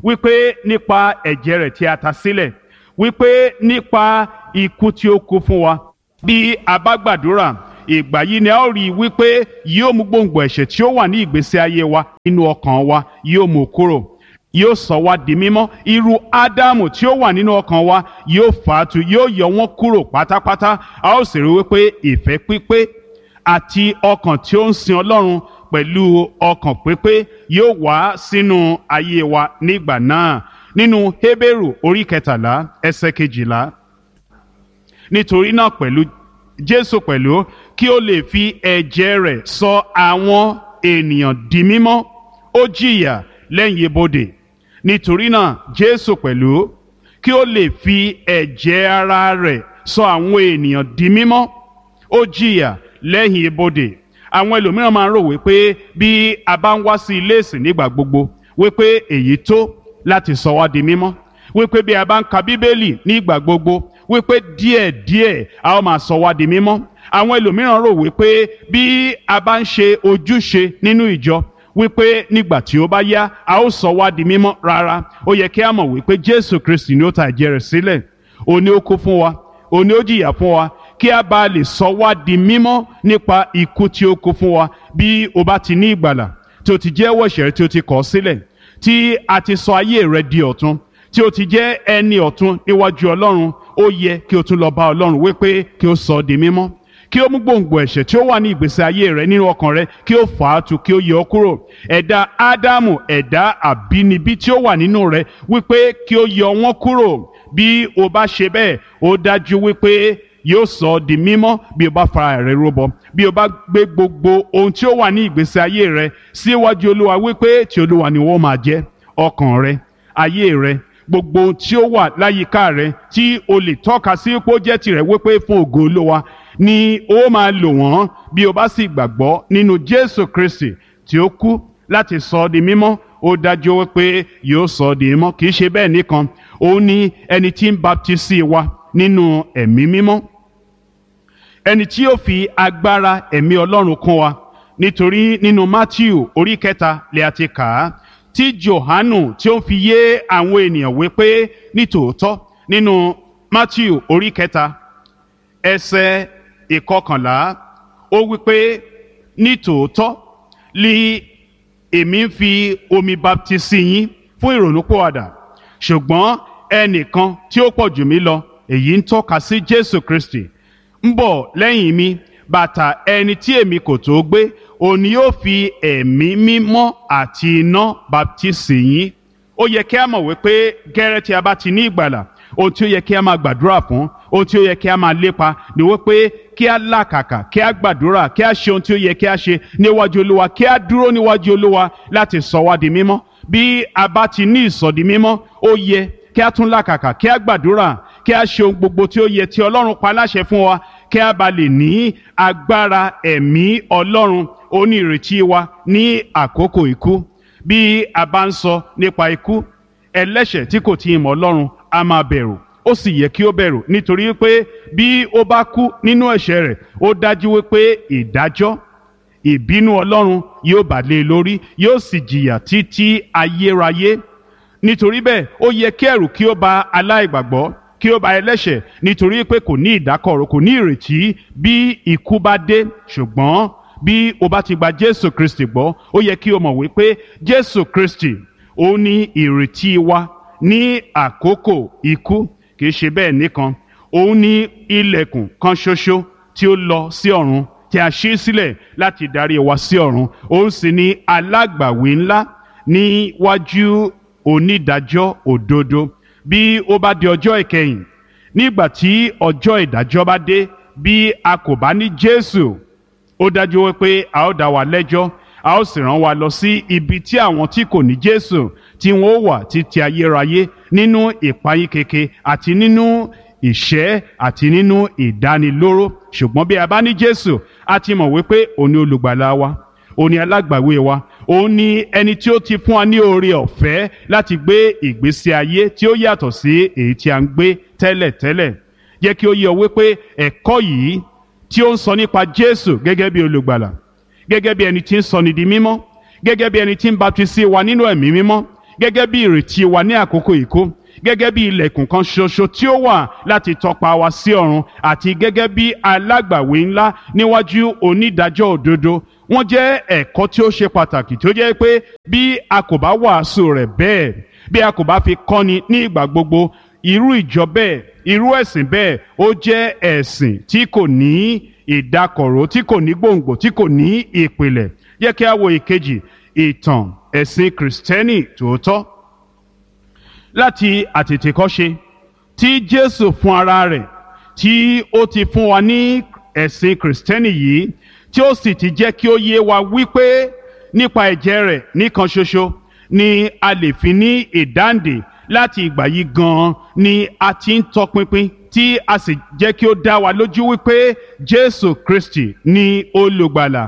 wípé nípa ẹ̀jẹ̀ rẹ̀ tí a ta sílẹ̀, wípé nípa ikú tí ó kú fún wa. Bí a bá gbàdúrà, Ìgbà yìí ni a ó rí i wípé yóò mú gbòǹgbò ẹ̀ṣẹ̀ tí ó wà ní ìgbésí ayé wa nínú ọkàn wa, yóò mú kúrò, yóò sọ wá di mímọ́. Irú Ádámù tí ó wà nínú ọkàn wa yóò fà á tu, yóò yọ wọ́n kúrò pátápátá. A ó sì rí wípé ìfẹ́ pípé àti ọkàn tí ó ń sin Ọlọ́run pẹ̀lú ọkàn pípé yóò wá sínú ayé wa nígbà náà. Nínú Hébérù orí 13 ẹsẹ̀ 12, nítorí náà pẹ̀lú Jésù pẹ̀lú kí ó lè fi ẹ̀jẹ̀ rẹ̀ sọ àwọn ènìyàn di mímọ́, ó jìyà lẹ́yìn ibodè. Nítorí náà Jésù pẹ̀lú kí ó lè fi ẹ̀jẹ̀ ara rẹ̀ sọ àwọn ènìyàn di mímọ́, ó jìyà lẹ́yìn ibodè. Àwọn ẹlòmíràn máa ń rò wípé bí a bá ń wá sí ilé ìsìn nígbà gbogbo, wípé èyí tó láti sọ wá di mímọ́, wípé bí a bá ń ka Bíbélì nígbà gbogbo, wípé díẹ̀díẹ̀ a ó máa sọ wá di mímọ́. Àwọn ẹlòmíràn rò wípé bí a bá ń ṣe ojúṣe nínú ìjọ, wípé nígbà tí ó bá yá a ó sọ wá di mímọ́. Rárá, ó yẹ kí a mọ̀ wípé Jésù Kristi ni ó ta ẹ̀jẹ̀ rẹ̀ sílẹ̀, òun ni ó kú fún wa, òun ni ó jìyà fún wa, kí a bá lè sọ wá di mímọ́ nípa ikú tí ó kú fún wa. Bí o bá ti ní ìgbàlà, tí o ti jẹ́wọ́ ẹ̀ṣẹ̀ rẹ tí o ti kọ̀ sílẹ̀, tí a ti sọ ayé rẹ di ọ̀tun, tí o ti jẹ́ ẹni ọ̀tun níwájú Ọlọ́run, ó yẹ kí o tún lọ bá Ọlọ́run wípé kí o sọ ọ́ di mímọ́, kí ó mú gbòǹgbò ẹ̀ṣẹ̀ tí ó wà ní ìgbésí ayé rẹ nínú ọkàn rẹ, kí ó fà á tu, kí ó yọ ọ́ kúrò. Ẹ̀dá Ádámù, ẹ̀dá àbínibí tí ó wà nínú rẹ, wípé kí ó yọ wọ́n kúrò. Bí o bá ṣe bẹ́ẹ̀, ó dájú wípé yóò sọ ọ́ di mímọ́. Bí o bá fara rẹ rúbọ, bí o bá gbé gbogbo ohun tí ó wà ní ìgbésí ayé rẹ síwájú Olúwa wípé ti Olúwa ni wọ́n máa jẹ́, ọkàn rẹ, ayé rẹ, gbogbo ohun tí ó wà láyìíká rẹ tí o lè tọ́ka sí pé ó jẹ́ tirẹ̀, wípé fún ògo Olúwa ni ó máa lò wọ́n. Bí o bá sì gbàgbọ́ nínú Jésù Kristi tí ó kú láti sọ ọ́ di mímọ́, ó dájú wípé yóò sọ ọ́ di mímọ́. Kì í ṣe bẹ́ẹ̀ nìkan, òun ni ẹni tí ń baptisi wa nínú Ẹ̀mí Mímọ́, ẹni tí yóò fi agbára Ẹ̀mí Ọlọ́run kún wa. Nítorí nínú Mátíù orí 3 lè a ti kà á, tí Jòhánù tí ó ń fi yé àwọn ènìyàn wípé nítòótọ́. Nínú Mátíù orí 3 ẹsẹ̀ 11, ó wípé nítòótọ́ li èmi ń fi omi baptisi yín fún ìrònúpìwàdà, ṣùgbọ́n ẹnìkan tí ó pọ̀ jù mí lọ, èyí ń tọ́ka sí Jésù Kristi, ń bọ̀ lẹ́yìn mi, bàtà ẹni tí èmi kò tó gbé, òun ni yóò fi Ẹ̀mí Mímọ́ àti iná baptisi yín. Ó yẹ kí a mọ̀ wípé gẹ́rẹ́ tí a bá ti ní ìgbàlà, ohun tí ó yẹ kí a máa gbàdúrà fún, ohun tí ó yẹ kí a máa lépa ni wípé kí a làkàkà, kí a gbàdúrà, kí a ṣe ohun tí ó yẹ kí a ṣe níwájú Olúwa, kí a dúró níwájú Olúwa láti sọ wá di mímọ́. Bí a bá ti ní ìsọdi mímọ́, ó yẹ kí a tún làkàkà, kí a gbàdúrà, kí a ṣe ohun gbogbo tí ó yẹ tí Ọlọ́run pa láṣẹ fún wa, kí a bá lè ní agbára Ẹ̀mí Ọlọ́run. Ó ní ìrètí wa ní àkókò ikú. Bí a bá ń sọ nípa ikú, ẹlẹ́ṣẹ̀ tí kò tí ì mọ̀ Ọlọ́run a máa bẹ̀rù. Ó sì yẹ kí ó bẹ̀rù, nítorí pé bí ó bá kú nínú ẹ̀ṣẹ̀ rẹ̀, ó dájú wípé ìdájọ́ ìbínú Ọlọ́run yóò bà lé e lórí, yóò sì jìyà títí ayérayé. Nítorí bẹ́ẹ̀, ó yẹ kí ẹ̀rù kí ó bà aláìgbàgbọ́, kí ó bà ẹlẹ́ṣẹ̀, nítorí pé kò ní ìdákọ̀ró, kò ní ìrètí bí ikú bá dé. Ṣùgbọ́n bí o bá ti gba Jésù Kristi gbọ́, ó yẹ kí o mọ̀ wípé Jésù Kristi ó ní ìrètí wa ní àkókò ikú. Kì í ṣe bẹ́ẹ̀ nìkan, òun ní ilẹ̀kùn kan ṣoṣo tí ó lọ sí ọ̀run, tí a ṣí sílẹ̀ láti darí wa sí ọ̀run. Òun sì ní alágbàwí ńlá níwájú onídàájọ́ òdodo. Bí ó bá di ọjọ́ ìkẹyìn, nígbà tí ọjọ́ ìdájọ́ bá dé, bí a kò bá ní Jésù, ó dájú wípé a ó dá wa lẹ́jọ́, a ó sì rán wa lọ sí ibi tí àwọn tí kò ní Jésù tí wọn ó wà títí ayérayé, nínú ìpayínkeke àti nínú ìṣẹ́ àti nínú ìdánilóró. Ṣùgbọ́n bí a bá ní Jésù, a ti mọ̀ wípé òun ni olùgbàlà wa, òun ni alágbàwé wa, òun ni ẹni tí ó ti fún wa ní oore ọ̀fẹ́ láti gbé ìgbésí ayé tí ó yàtọ̀ sí èyí tí a ń gbé tẹ́lẹ̀tẹ́lẹ̀. Jẹ́ kí ó yé ọ wípé ẹ̀kọ́ yìí tí ó ń sọ nípa Jésù gẹ́gẹ́ bí olùgbàlà, gẹ́gẹ́ bí ẹni tí ń sọni di mímọ́, gẹ́gẹ́ bí ẹni tí ń baptisi wa nínú Ẹ̀mí Mímọ́, gẹ́gẹ́ bí ìrètí wa ní àkókò ìkó, gẹ́gẹ́ bí ilẹ̀kùn kan ṣoṣo tí ó wà láti tọpa wa sí ọ̀run, àti gẹ́gẹ́ bí alágbàwí ńlá níwájú onídàájọ́ òdodo. Wọ́n jẹ́ ẹ̀kọ́ tí ó ṣe pàtàkì tí ó jẹ́ pé bí a kò bá wàásù rẹ̀ bẹ́ẹ̀, bí a kò bá fi kọ́ni ní ìgbà gbogbo, irú ìjọ bẹ́ẹ̀, irú ẹ̀sìn bẹ́ẹ̀, ó jẹ́ ẹ̀sìn tí kò ní ìdákọ̀ró, tí kò ní gbòǹgbò, tí kò ní ìpìlẹ̀. Yẹ kí a wo ìkejì, ìtàn ẹ̀sìn kìrìsìtẹ́nì tòótọ́. Láti àtètèkọ́ṣe tí Jésù fún ara rẹ̀ tí ó ti fún wa ní ẹ̀sìn kìrìsìtẹ́nì yìí, tí ó sì ti jẹ́ kí ó yé wa wípé nípa ẹ̀jẹ̀ rẹ̀ nìkan ṣoṣo ni a lè fi ní ìdáǹdè. Láti ìgbà yìí gan-an ni a ti ń tọpinpin, tí a sì jẹ́ kí ó dá wa lójú wípé Jésù Kristi ni olùgbàlà.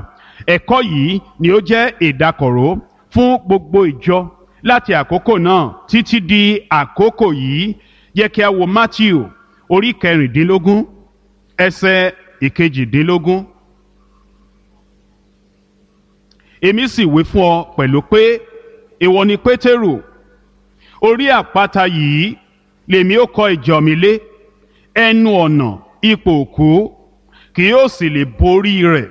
Ẹ̀kọ́ yìí ni ó jẹ́ ìdákọ̀ró fún gbogbo ìjọ láti àkókò náà títí di àkókò yìí. Yẹ kí a wo Matthew orí 16 ẹsẹ̀ 18. Èmi sì wí fún ọ pẹ̀lú pé ìwọ ni Pétérù, orí àpáta yìí lèmi ó kọ́ ìjọ mi lé, ẹnu ọ̀nà ipò òkú kì yóò sì lè borí rẹ̀.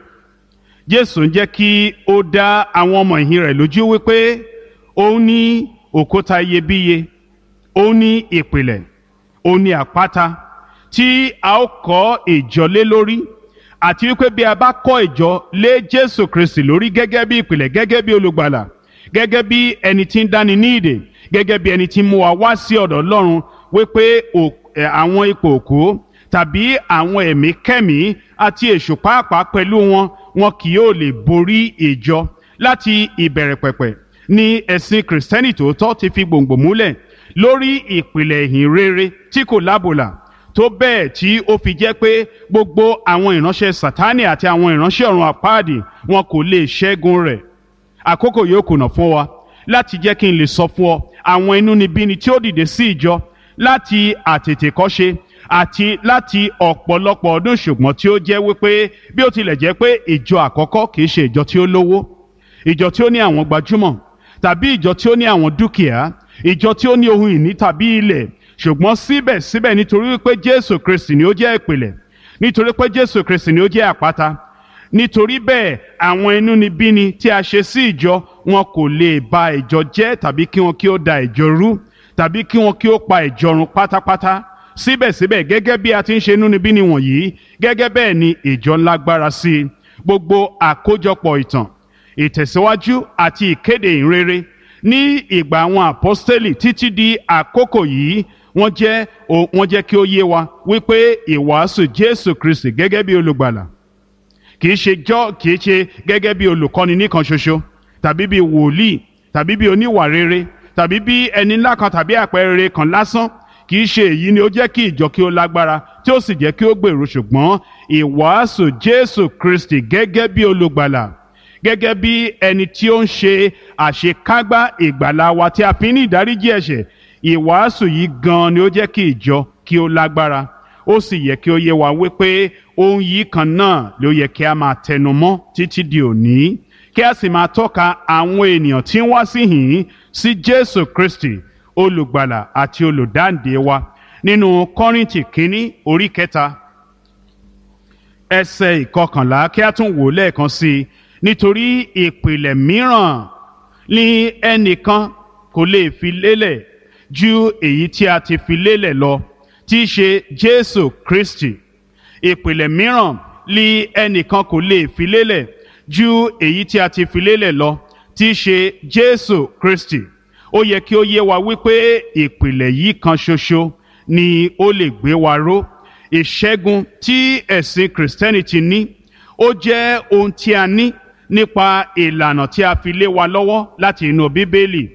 Jésù ń jẹ́ kí ó dá àwọn ọmọ ìhìn rẹ̀ lójú wípé òun ní òkúta iyebíye, òun ní ìpìlẹ̀, òun ní àpáta tí a ó kọ́ ìjọ lé lórí, àti wípé bí a bá kọ́ ìjọ lé Jésù Kristi lórí gẹ́gẹ́ bí ìpìlẹ̀, gẹ́gẹ́ bí olùgbàlà, gẹ́gẹ́ bí ẹni tí ń dáni ní ìdè, gẹ́gẹ́ bí ẹni tí ń mú wa wá sí ọ̀dọ̀ Ọlọ́run, wípé àwọn ipò òkú tàbí àwọn ẹ̀mí kẹ́mí àti èṣù pàápàá pẹ̀lú wọn, wọn kì yóò lè borí ìjọ. Láti ìbẹ̀rẹ̀ pẹ̀pẹ̀ ni ẹ̀sìn kìrìsìtẹ́nì tòótọ́ ti fi gbòǹgbò múlẹ̀ lórí ìpìlẹ̀ ìhìn rere tí kò lábòlà, tó bẹ́ẹ̀ tí ó fi jẹ́ pé gbogbo àwọn ìránṣẹ́ Sátánì àti àwọn ìránṣẹ́ ọ̀run àpáàdì wọn kò lè ṣẹ́gun rẹ̀. Àkókò yóò kùnà fún wa láti jẹ́ kí n lè sọ fún ọ àwọn inúnibíni tí ó dìde sí ìjọ láti àtètèkọ́ṣe àti láti ọ̀pọ̀lọpọ̀ ọdún, ṣùgbọ́n tí ó jẹ́ wípé bí ó tilẹ̀ jẹ́ pé ìjọ àkọ́kọ́ kì í ṣe ìjọ tí ó lówó, ìjọ tí ó ní àwọn gbajúmọ̀, tàbí ìjọ tí ó ní àwọn dúkìá, ìjọ tí ó ní ohun ìní tàbí ilẹ̀, ṣùgbọ́n síbẹ̀síbẹ̀ nítorí wípé Jésù Kristi ni ó jẹ́ ìpìlẹ̀, nítorí pé Jésù Kristi ni ó jẹ́ àpáta, nítorí bẹ́ẹ̀ àwọn inúnibíni tí a ṣe sí ìjọ wọn kò lè ba ìjọ jẹ́, tàbí kí wọn kí ó da ìjọ rú, tàbí kí wọn kí ó pa ìjọ run pátápátá. Síbẹ̀síbẹ̀ gẹ́gẹ́ bí a ti ń ṣe inúnibíni wọ̀nyí, gẹ́gẹ́ bẹ́ẹ̀ ni ìjọ ńlágbára sí i. Gbogbo àkójọpọ̀ ìtàn ìtẹ̀síwájú àti ìkéde ìrere ní ìgbà àwọn àpọ́stélì títí di àkókò yìí, wọ́n jẹ́ kí ó yé wa wípé ìwàásù Jésù Kristi gẹ́gẹ́ bí olùgbàlà, kìí ṣe jọ́ kìí ṣe gẹ́gẹ́ bí olùkọ́ni nìkan ṣoṣo, tàbí bí wòlíì, tàbí bí oníwà rere, tàbí bí ẹni ńlá kan tàbí àpẹẹrẹ kan lásán. Kìí ṣe èyí ni ó jẹ́ kí ìjọ kí ó lágbára tí ó sì jẹ́ kí ó gbèrú, ṣùgbọ́n ìwàásù Jésù Kristi gẹ́gẹ́ bí olùgbàlà, gẹ́gẹ́ bí ẹni tí ó ń ṣe àṣekágbá ìgbàlà wa tí a fi ní ìdáríjì ẹ̀ṣẹ̀. Ìwàásù yìí gan-an ni ó jẹ́ kí ìjọ kí ó lágbára. Ó sì yẹ kí ó yé wa wípé ohun yìí kan náà ló yẹ kí a máa tẹnu mọ́ títí di òní, kí a sì máa tọ́ka àwọn ènìyàn tí ń wá síhìn sí Jésù Kristi olùgbàlà àti olùdáǹdè wa. Nínú Kọ́ríńtì kínní orí 3 ẹsẹ̀ 11, kí a tún wò lẹ́ẹ̀kan sí i. Nítorí ìpìlẹ̀ mìíràn ni ẹnìkan kò lè fi lélẹ̀ ju èyí tí a ti fi lélẹ̀ lọ, tí í ṣe Jésù Kristi. Ìpìlẹ̀ mìíràn ni ẹnìkan kò lè fi lélẹ̀ ju èyí tí a ti fi lélẹ̀ lọ, tí í ṣe Jésù Kristi. Ó yẹ kí ó yé wa wípé ìpìlẹ̀ yìí kan ṣoṣo ni ó lè gbé wa ró. Ìṣẹ́gun tí ẹ̀sìn Kìrìsìtẹ́nì ti ní, ó jẹ́ ohun tí a ní nípa ìlànà tí a fi lé wa lọ́wọ́ láti inú Bíbélì,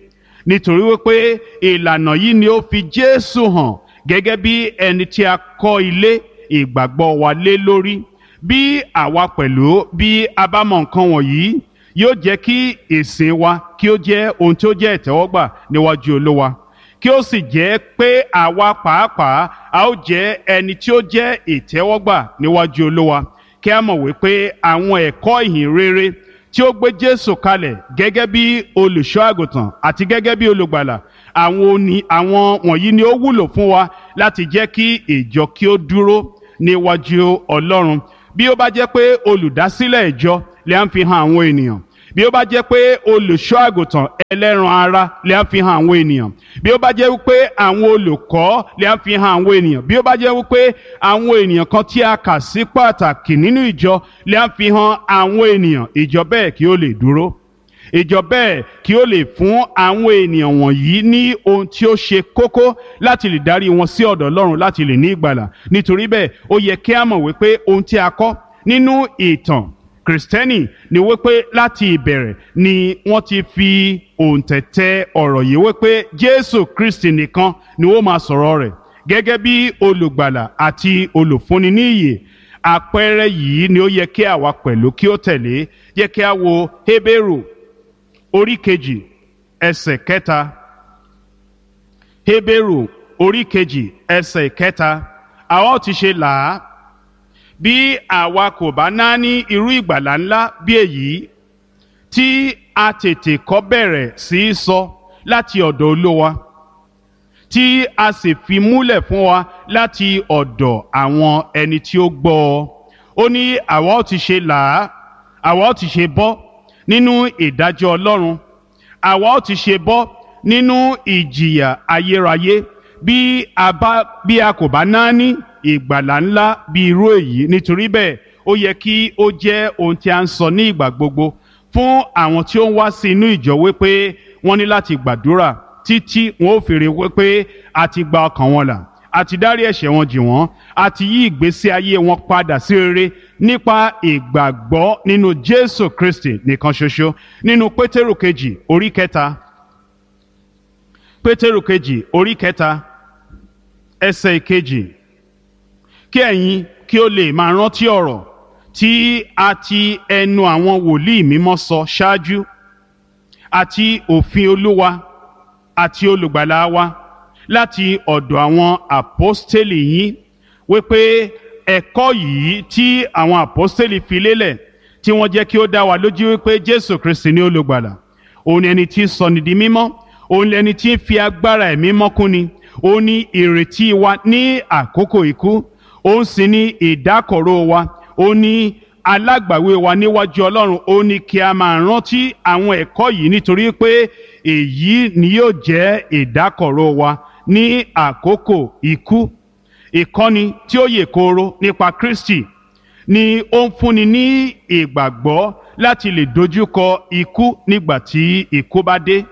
nítorí wípé ìlànà yìí ni ó fi Jésù hàn gẹ́gẹ́ bí ẹni tí a kọ́ ilé ìgbàgbọ́ wa lé lórí. Bí àwa pẹ̀lú bí a bá mọ nǹkan wọ̀nyí, yóò jẹ́ kí ìsìn wa kí ó jẹ́ ohun tí ó jẹ́ ìtẹ́wọ́gbà níwájú Olúwa, kí ó sì jẹ́ pé àwa pàápàá a ó jẹ́ ẹni tí ó jẹ́ ìtẹ́wọ́gbà níwájú Olúwa. Kí a mọ̀ wípé àwọn ẹ̀kọ́ ìhìn rere tí ó gbé Jésù kalẹ̀ gẹ́gẹ́ bí olùṣọ́ àgùntàn àti gẹ́gẹ́ bí olùgbàlà, àwọn wọ̀nyí ni ó wúlò fún wa láti jẹ́ kí ìjọ kí ó dúró níwájú Ọlọ́run. Bí ó bá jẹ́ pé olùdásílẹ̀ ìjọ lè ń fi hàn àwọn ènìyàn, bí ó bá jẹ́ pé olùṣọ́ àgùntàn ẹlẹ́ran ara lè ń fi hàn àwọn ènìyàn, bí ó bá jẹ́ wípé àwọn olùkọ́ lè ń fi hàn àwọn ènìyàn, bí ó bá jẹ́ wípé àwọn ènìyàn kan tí a kà sí pàtàkì nínú ìjọ lè ń fi hàn àwọn ènìyàn, ìjọ bẹ́ẹ̀ kí ó lè dúró, ìjọ bẹ́ẹ̀ kí ó lè fún àwọn ènìyàn wọ̀nyí ní ohun tí ó ṣe kókó láti lè darí wọn sí ọ̀dọ̀ Ọlọ́run láti lè ní ìgbàlà. Nítorí bẹ́ẹ̀, ó yẹ kí a mọ̀ wípé ohun tí a kọ́ nínú ìtàn Kìrìsìtẹ́nì ni wípé láti ìbẹ̀rẹ̀ ni wọ́n ti fi òǹtẹ̀tẹ̀ ọ̀rọ̀ yìí wípé Jésù Kristi nìkan ni ó máa sọ̀rọ̀ rẹ̀ gẹ́gẹ́ bí olùgbàlà àti olùfúnni ní ìyè. Àpẹẹrẹ yìí ni ó yẹ kí àwa pẹ̀lú kí ó tẹ̀lé. Yẹ kí a wo Hébérù orí 2 ẹsẹ̀ 3. Hébérù orí 2 ẹsẹ̀ 3. Àwa ó ti ṣe là á bí àwa kò bá náání irú ìgbàlà ńlá bí èyí tí a tètè kọ́ bẹ̀rẹ̀ sí í sọ láti ọ̀dọ̀ Olúwa, tí a sì fi múlẹ̀ fún wa láti ọ̀dọ̀ àwọn ẹni tí ó gbọ́ ọ. Ó ní àwa ó ti ṣe là á, àwa ó ti ṣe bọ́ nínú ìdájọ́ Ọlọ́run, àwa ó ti ṣe bọ́ nínú ìjìyà ayérayé bí a kò bá náání ìgbàlà ńlá bí irú èyí. Nítorí bẹ́ẹ̀, ó yẹ kí ó jẹ́ ohun tí a ń sọ ní ìgbà gbogbo fún àwọn tí ó ń wá sí inú ìjọ wípé wọ́n ní láti gbàdúrà títí wọn ó fèrè wípé a ti gba ọkàn wọn là, a ti dárí ẹ̀ṣẹ̀ wọn jì wọ́n, a ti yí ìgbésí ayé wọn padà sí rere nípa ìgbàgbọ́ nínú Jésù Kristi nìkan ṣoṣo. Nínú Pétérù kejì orí 3, Pétérù kejì orí 3 ẹsẹ̀ 2, kí ẹ̀yin kí ó lè máa rántí ọ̀rọ̀ tí a ti ẹnu àwọn wòlíì mímọ́ sọ ṣáájú, àti òfin Olúwa àti olùgbàlà wa láti ọ̀dọ̀ àwọn àpọ́stélì yín, wípé ẹ̀kọ́ yìí tí àwọn àpọ́stélì fi lélẹ̀ tí wọ́n jẹ́ kí ó dá wa lójú wípé Jésù Kristi ní olùgbàlà, òun ni ẹni tí ń sọni di mímọ́, òun ni ẹni tí ń fi agbára ẹ̀mí mọ́ kúnni, òun ni ìrètí wa ní àkókò ikú, òun sì ni ìdákọ̀ró wa, òun ni alágbàwé wa níwájú Ọlọ́run. Ó ní kí a máa rántí àwọn ẹ̀kọ́ yìí nítorí pé èyí ni yóò jẹ́ ìdákọ̀ró wa ní àkókò ikú. Ìkọ́ni tí ó yè kooro nípa Kristi ni ó ń fúnni ní ìgbàgbọ́ láti lè dojúkọ ikú nígbà tí ikú bá dé.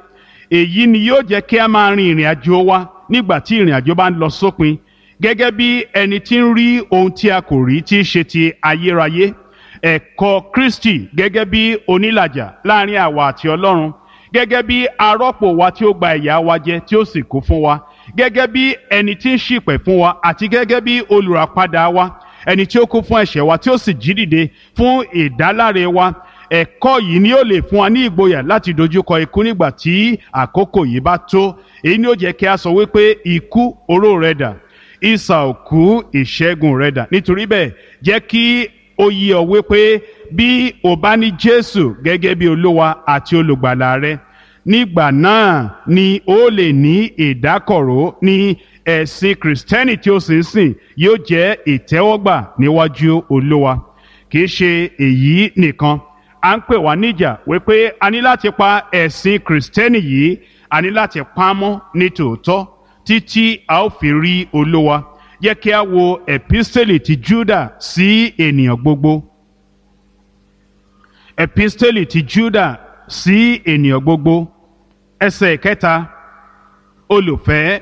Èyí ni yóò jẹ́ kí a máa rin ìrìn àjò wa nígbà tí ìrìn àjò bá ń lọ sópin, gẹ́gẹ́ bí ẹni tí ń rí ohun tí a kò rí tí í ṣe ti ayérayé. Ẹ̀kọ́ Kristi gẹ́gẹ́ bí onílàjà láàrin àwa àti Ọlọ́run, gẹ́gẹ́ bí arọ́pò wa tí ó gba ìyà wa jẹ tí ó sì kú fún wa, gẹ́gẹ́ bí ẹni tí ń ṣìpẹ̀ fún wa, àti gẹ́gẹ́ bí olùràpadà wa, ẹni tí ó kú fún ẹ̀ṣẹ̀ wa tí ó sì jí dìde fún ìdáláre wa. Ẹ̀kọ́ yìí ni ó lè fún wa ní ìgboyà láti dojúkọ ikú nígbà tí àkókò yìí bá tó. Èyí ni ó jẹ́ kí a sọ wípé ikú, oró rẹ dà? Isà òkú, ìṣẹ́gun rẹ dà? Nítorí bẹ́ẹ̀, jẹ́ kí ó yé ọ wípé bí o bá ní Jésù gẹ́gẹ́ bí Olúwa àti olùgbàlà rẹ, nígbà náà ni ó lè ní ìdákọ̀ró ní ẹ̀sìn Kìrìsìtẹ́nì tí ó sì ń sìn yóò jẹ́ ìtẹ́wọ́gbà níwájú Olúwa. Kì í ṣe èyí nìkan, à ń pè wá níjà wípé a ní láti pa ẹ̀sìn Kìrìsìtẹ́nì yìí, a ní láti pa á mọ́ ní tòótọ́ títí a ó fi rí Olúwa. Yẹ kí a wo episteli ti Júdà sí ènìyàn gbogbo. Episteli ti Júdà sí ènìyàn gbogbo, ẹsẹ̀ 3. Olùfẹ́,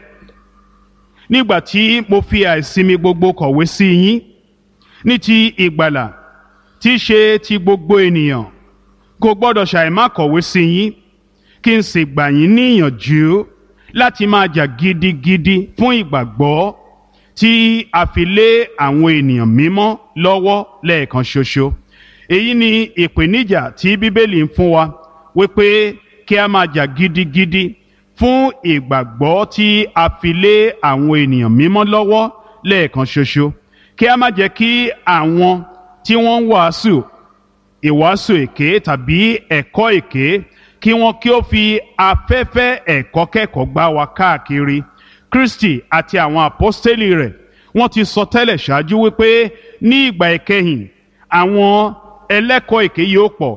nígbà tí mo fi àìsinmi gbogbo kọ̀wé sí yín ní ti ìgbàlà tí í ṣe ti gbogbo ènìyàn, kò gbọ́dọ̀ ṣàìmá kọ̀wé sí yín, kí n sì gbà yín níyànjú láti máa jà gidigidi fún ìgbàgbọ́ tí a fi lé àwọn ènìyàn mímọ́ lọ́wọ́ lẹ́ẹ̀kan ṣoṣo. Èyí ni ìpèníjà tí Bíbélì ń fún wa wípé kí a máa jà gidigidi fún ìgbàgbọ́ tí a fi lé àwọn ènìyàn mímọ́ lọ́wọ́ lẹ́ẹ̀kan ṣoṣo. Kí a má jẹ́ kí àwọn tí wọ́n ń wàásù ìwàásù èké tàbí ẹ̀kọ́ èké kí wọ́n kí ó fi afẹ́fẹ́ ẹ̀kọ́ kẹ́kọ̀ọ́ gbá wa káàkiri. Kristi àti àwọn àpọ́stélì rẹ̀ wọ́n ti sọ tẹ́lẹ̀ ṣáájú wípé ní ìgbà ìkẹyìn àwọn ẹlẹ́kọ̀ọ́ èké yóò pọ̀,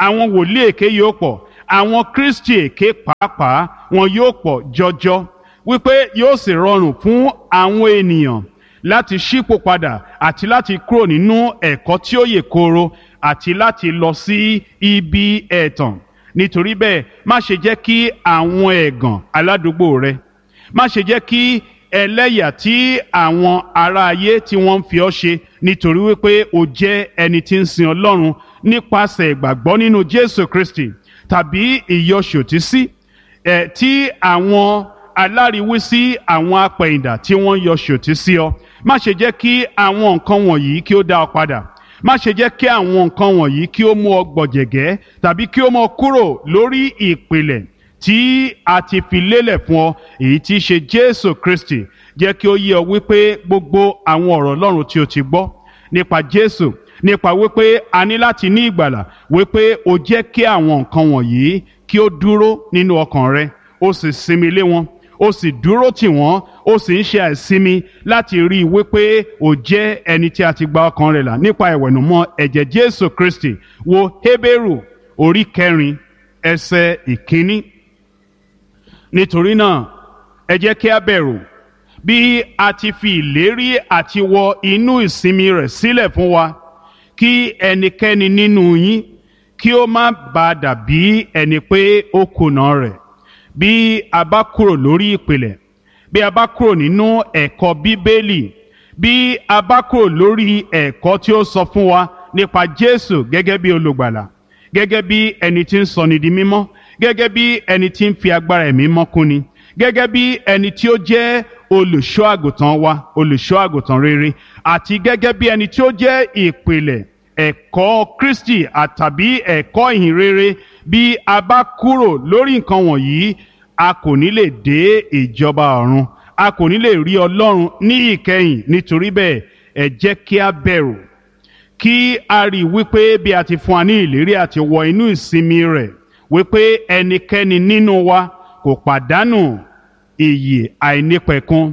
àwọn wòlíì èké yóò pọ̀, àwọn Kristi èké pàápàá wọn yóò pọ̀ jọjọ, wípé yóò sì rọrùn fún àwọn ènìyàn láti ṣípò padà àti láti kúrò nínú ẹ̀kọ́ tí ó yè kooro àti láti lọ sí ibi ẹ̀tàn. Nítorí bẹ́ẹ̀, má ṣe jẹ́ kí àwọn ẹ̀gàn aládùúgbò rẹ, má ṣe jẹ́ kí ẹlẹ́yà tí àwọn ará ayé tí wọ́n ń fi ọ́ ṣe nítorí wípé o jẹ́ ẹni tí ń sin Ọlọ́run nípasẹ̀ ìgbàgbọ́ nínú Jésù Kristi, tàbí ìyọṣòtísí ẹ̀ tí àwọn aláriwísí àwọn apẹ̀yìndà tí wọ́n ń yọ ṣòtísí ọ. Má ṣe jẹ́ kí àwọn nǹkan wọ̀nyí kí ó dá ọ padà. Má ṣe jẹ́ kí àwọn nǹkan wọ̀nyí kí ó mú ọ gbọ̀jẹ̀gẹ́ tàbí kí ó mú ọ kúrò lórí ìpìlẹ̀ tí a ti fi lélẹ̀ fún ọ, èyí tí í ṣe Jésù Kristi. Jẹ́ kí ó yé ọ wípé gbogbo àwọn ọ̀rọ̀ Ọlọ́run tí o ti gbọ́ nípa Jésù, nípa wípé a ní láti ní ìgbàlà, wípé o jẹ́ kí àwọn nǹkan wọ̀nyí kí ó dúró nínú ọkàn rẹ, o sì sinmi lé wọn, o sì dúró tì wọ́n, o sì ń ṣe àìsinmi láti rí i wípé o jẹ́ ẹni tí a ti gba ọkàn rẹ̀ là nípa ìwẹ̀nùmọ́ ẹ̀jẹ̀ Jésù Kristi. Wo Hébérù orí 4 ẹsẹ̀ 1. Nítorí náà ẹ jẹ́ kí a bẹ̀rù, bí a ti fi ìlérí àti wọ inú ìsinmi rẹ̀ sílẹ̀ fún wa, kí ẹnikẹ́ni nínú yín kí ó má bàa dàbí ẹni pé ó kùnà rẹ̀. Bí a bá kúrò lórí ìpìlẹ̀, bí a bá kúrò nínú ẹ̀kọ́ Bíbélì, bí a bá kúrò lórí ẹ̀kọ́ tí ó sọ fún wa nípa Jésù gẹ́gẹ́ bí olùgbàlà, gẹ́gẹ́ bí ẹni tí ń sọni di mímọ́, gẹ́gẹ́ bí ẹni tí ń fi agbára ẹ̀mí mọ́ kúni, gẹ́gẹ́ bí ẹni tí ó jẹ́ olùṣọ́ àgùntàn wa, olùṣọ́ àgùntàn rere, àti gẹ́gẹ́ bí ẹni tí ó jẹ́ ìpìlẹ̀ ẹ̀kọ́ Kristi àtàbí ẹ̀kọ́ ìhìn rere, bí a bá kúrò lórí nǹkan wọ̀nyí, a kò ní lè dé ìjọba ọ̀run, a kò ní lè rí Ọlọ́run ní ìkẹyìn. Nítorí bẹ́ẹ̀, ẹ jẹ́ kí a bẹ̀rù, kí a rí i wípé bí a ti fún wa ní ìlérí àti wọ inú ìsinmi rẹ̀, wípé ẹnikẹ́ni nínú wa kò pàdánù iyì àìnípẹ̀kun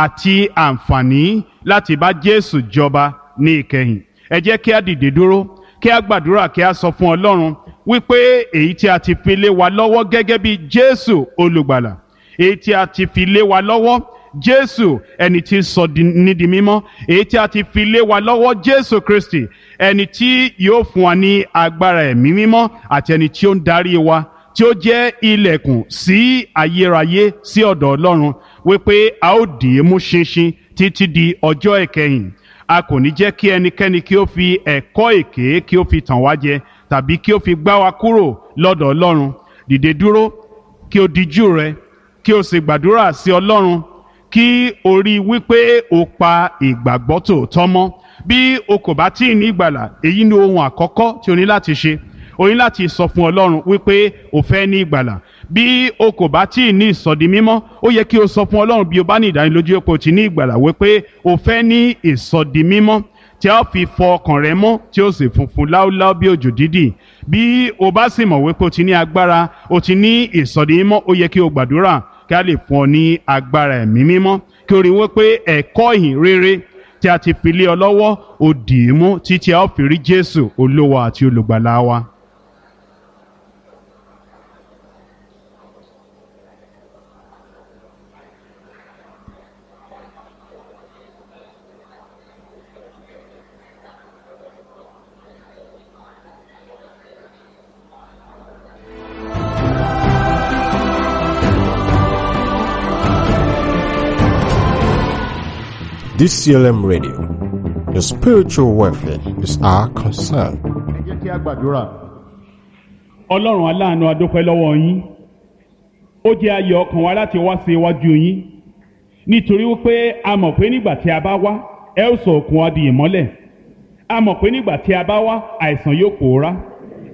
àti àǹfààní láti bá Jésù jọba ní ìkẹyìn. Ẹ jẹ́ kí a dìde dúró, kí a gbàdúrà, kí a sọ fún Ọlọ́run wípé èyí tí a ti fi lé wa lọ́wọ́ gẹ́gẹ́ bí Jésù olùgbàlà, èyí tí a ti fi lé wa lọ́wọ́ Jésù ẹni tí sọ ní di mímọ́, èyí tí a ti fi lé wa lọ́wọ́ Jésù Kristi ẹni tí yóò fún wa ní agbára ẹ̀mí mímọ́ àti ẹni tí ó ń darí wa, tí ó jẹ́ ilẹ̀kùn sí ayérayé sí ọ̀dọ̀ Ọlọ́run, wípé a ó dì í mú ṣinṣin títí di ọjọ́ ìkẹyìn. A kò ní jẹ́ kí ẹnikẹ́ni kí ó fi ẹ̀kọ́ èké kí ó fi tàn wá jẹ tàbí kí ó fi gbá wa kúrò lọ́dọ̀ Ọlọ́run. Dìde dúró, kí o dijú rẹ, kí o sì gbàdúrà sí Ọlọ́run, kí o rí i wípé o pa ìgbàgbọ́ tòótọ́ mọ́. Bí o kò bá tí ì ní ìgbàlà, èyí ni ohun àkọ́kọ́ tí o ní láti ṣe. O ní láti sọ fún Ọlọ́run wípé o fẹ́ ní ìgbàlà. Bí o kò bá tí ì ní ìsọdi mímọ́, ó yẹ kí o sọ fún Ọlọ́run bí o bá ní ìdánilójú pé o ti ní ìgbàlà wípé o fẹ́ ní ìsọdi mímọ́ tí a ó fi fọ ọkàn rẹ mọ́ tí ó sì funfun láúláú bí òjò dídì. Bí o bá sì mọ̀ wípé o ti ní agbára, o ti ní ìsọdi mímọ́, ó yẹ kí o gbàdúrà kí a lè fún ọ ní agbára ẹ̀mí mímọ́, kí o rí wípé ẹ̀kọ́ ìhìn rere tí a ti fi lé ọ lọ́wọ́ o dì í mú títí a ó fi rí Jésù Olúwa àti Olùgbàlà wa. DCLM Radio. Your spiritual welfare is our concern. Ẹ jẹ́ kí a gbàdúrà. Ọlọ́run aláàánú, a dúpẹ́ lọ́wọ́ yín. Ó jẹ́ ayọ̀ ọkàn wa láti wá sí iwájú yín, nítorí wípé a mọ̀ pé nígbà tí a bá wá, ẹ ó sọ òkun wa di ìmọ́lẹ̀. A mọ̀ pé nígbà tí a bá wá, àìsàn yóò pòórá.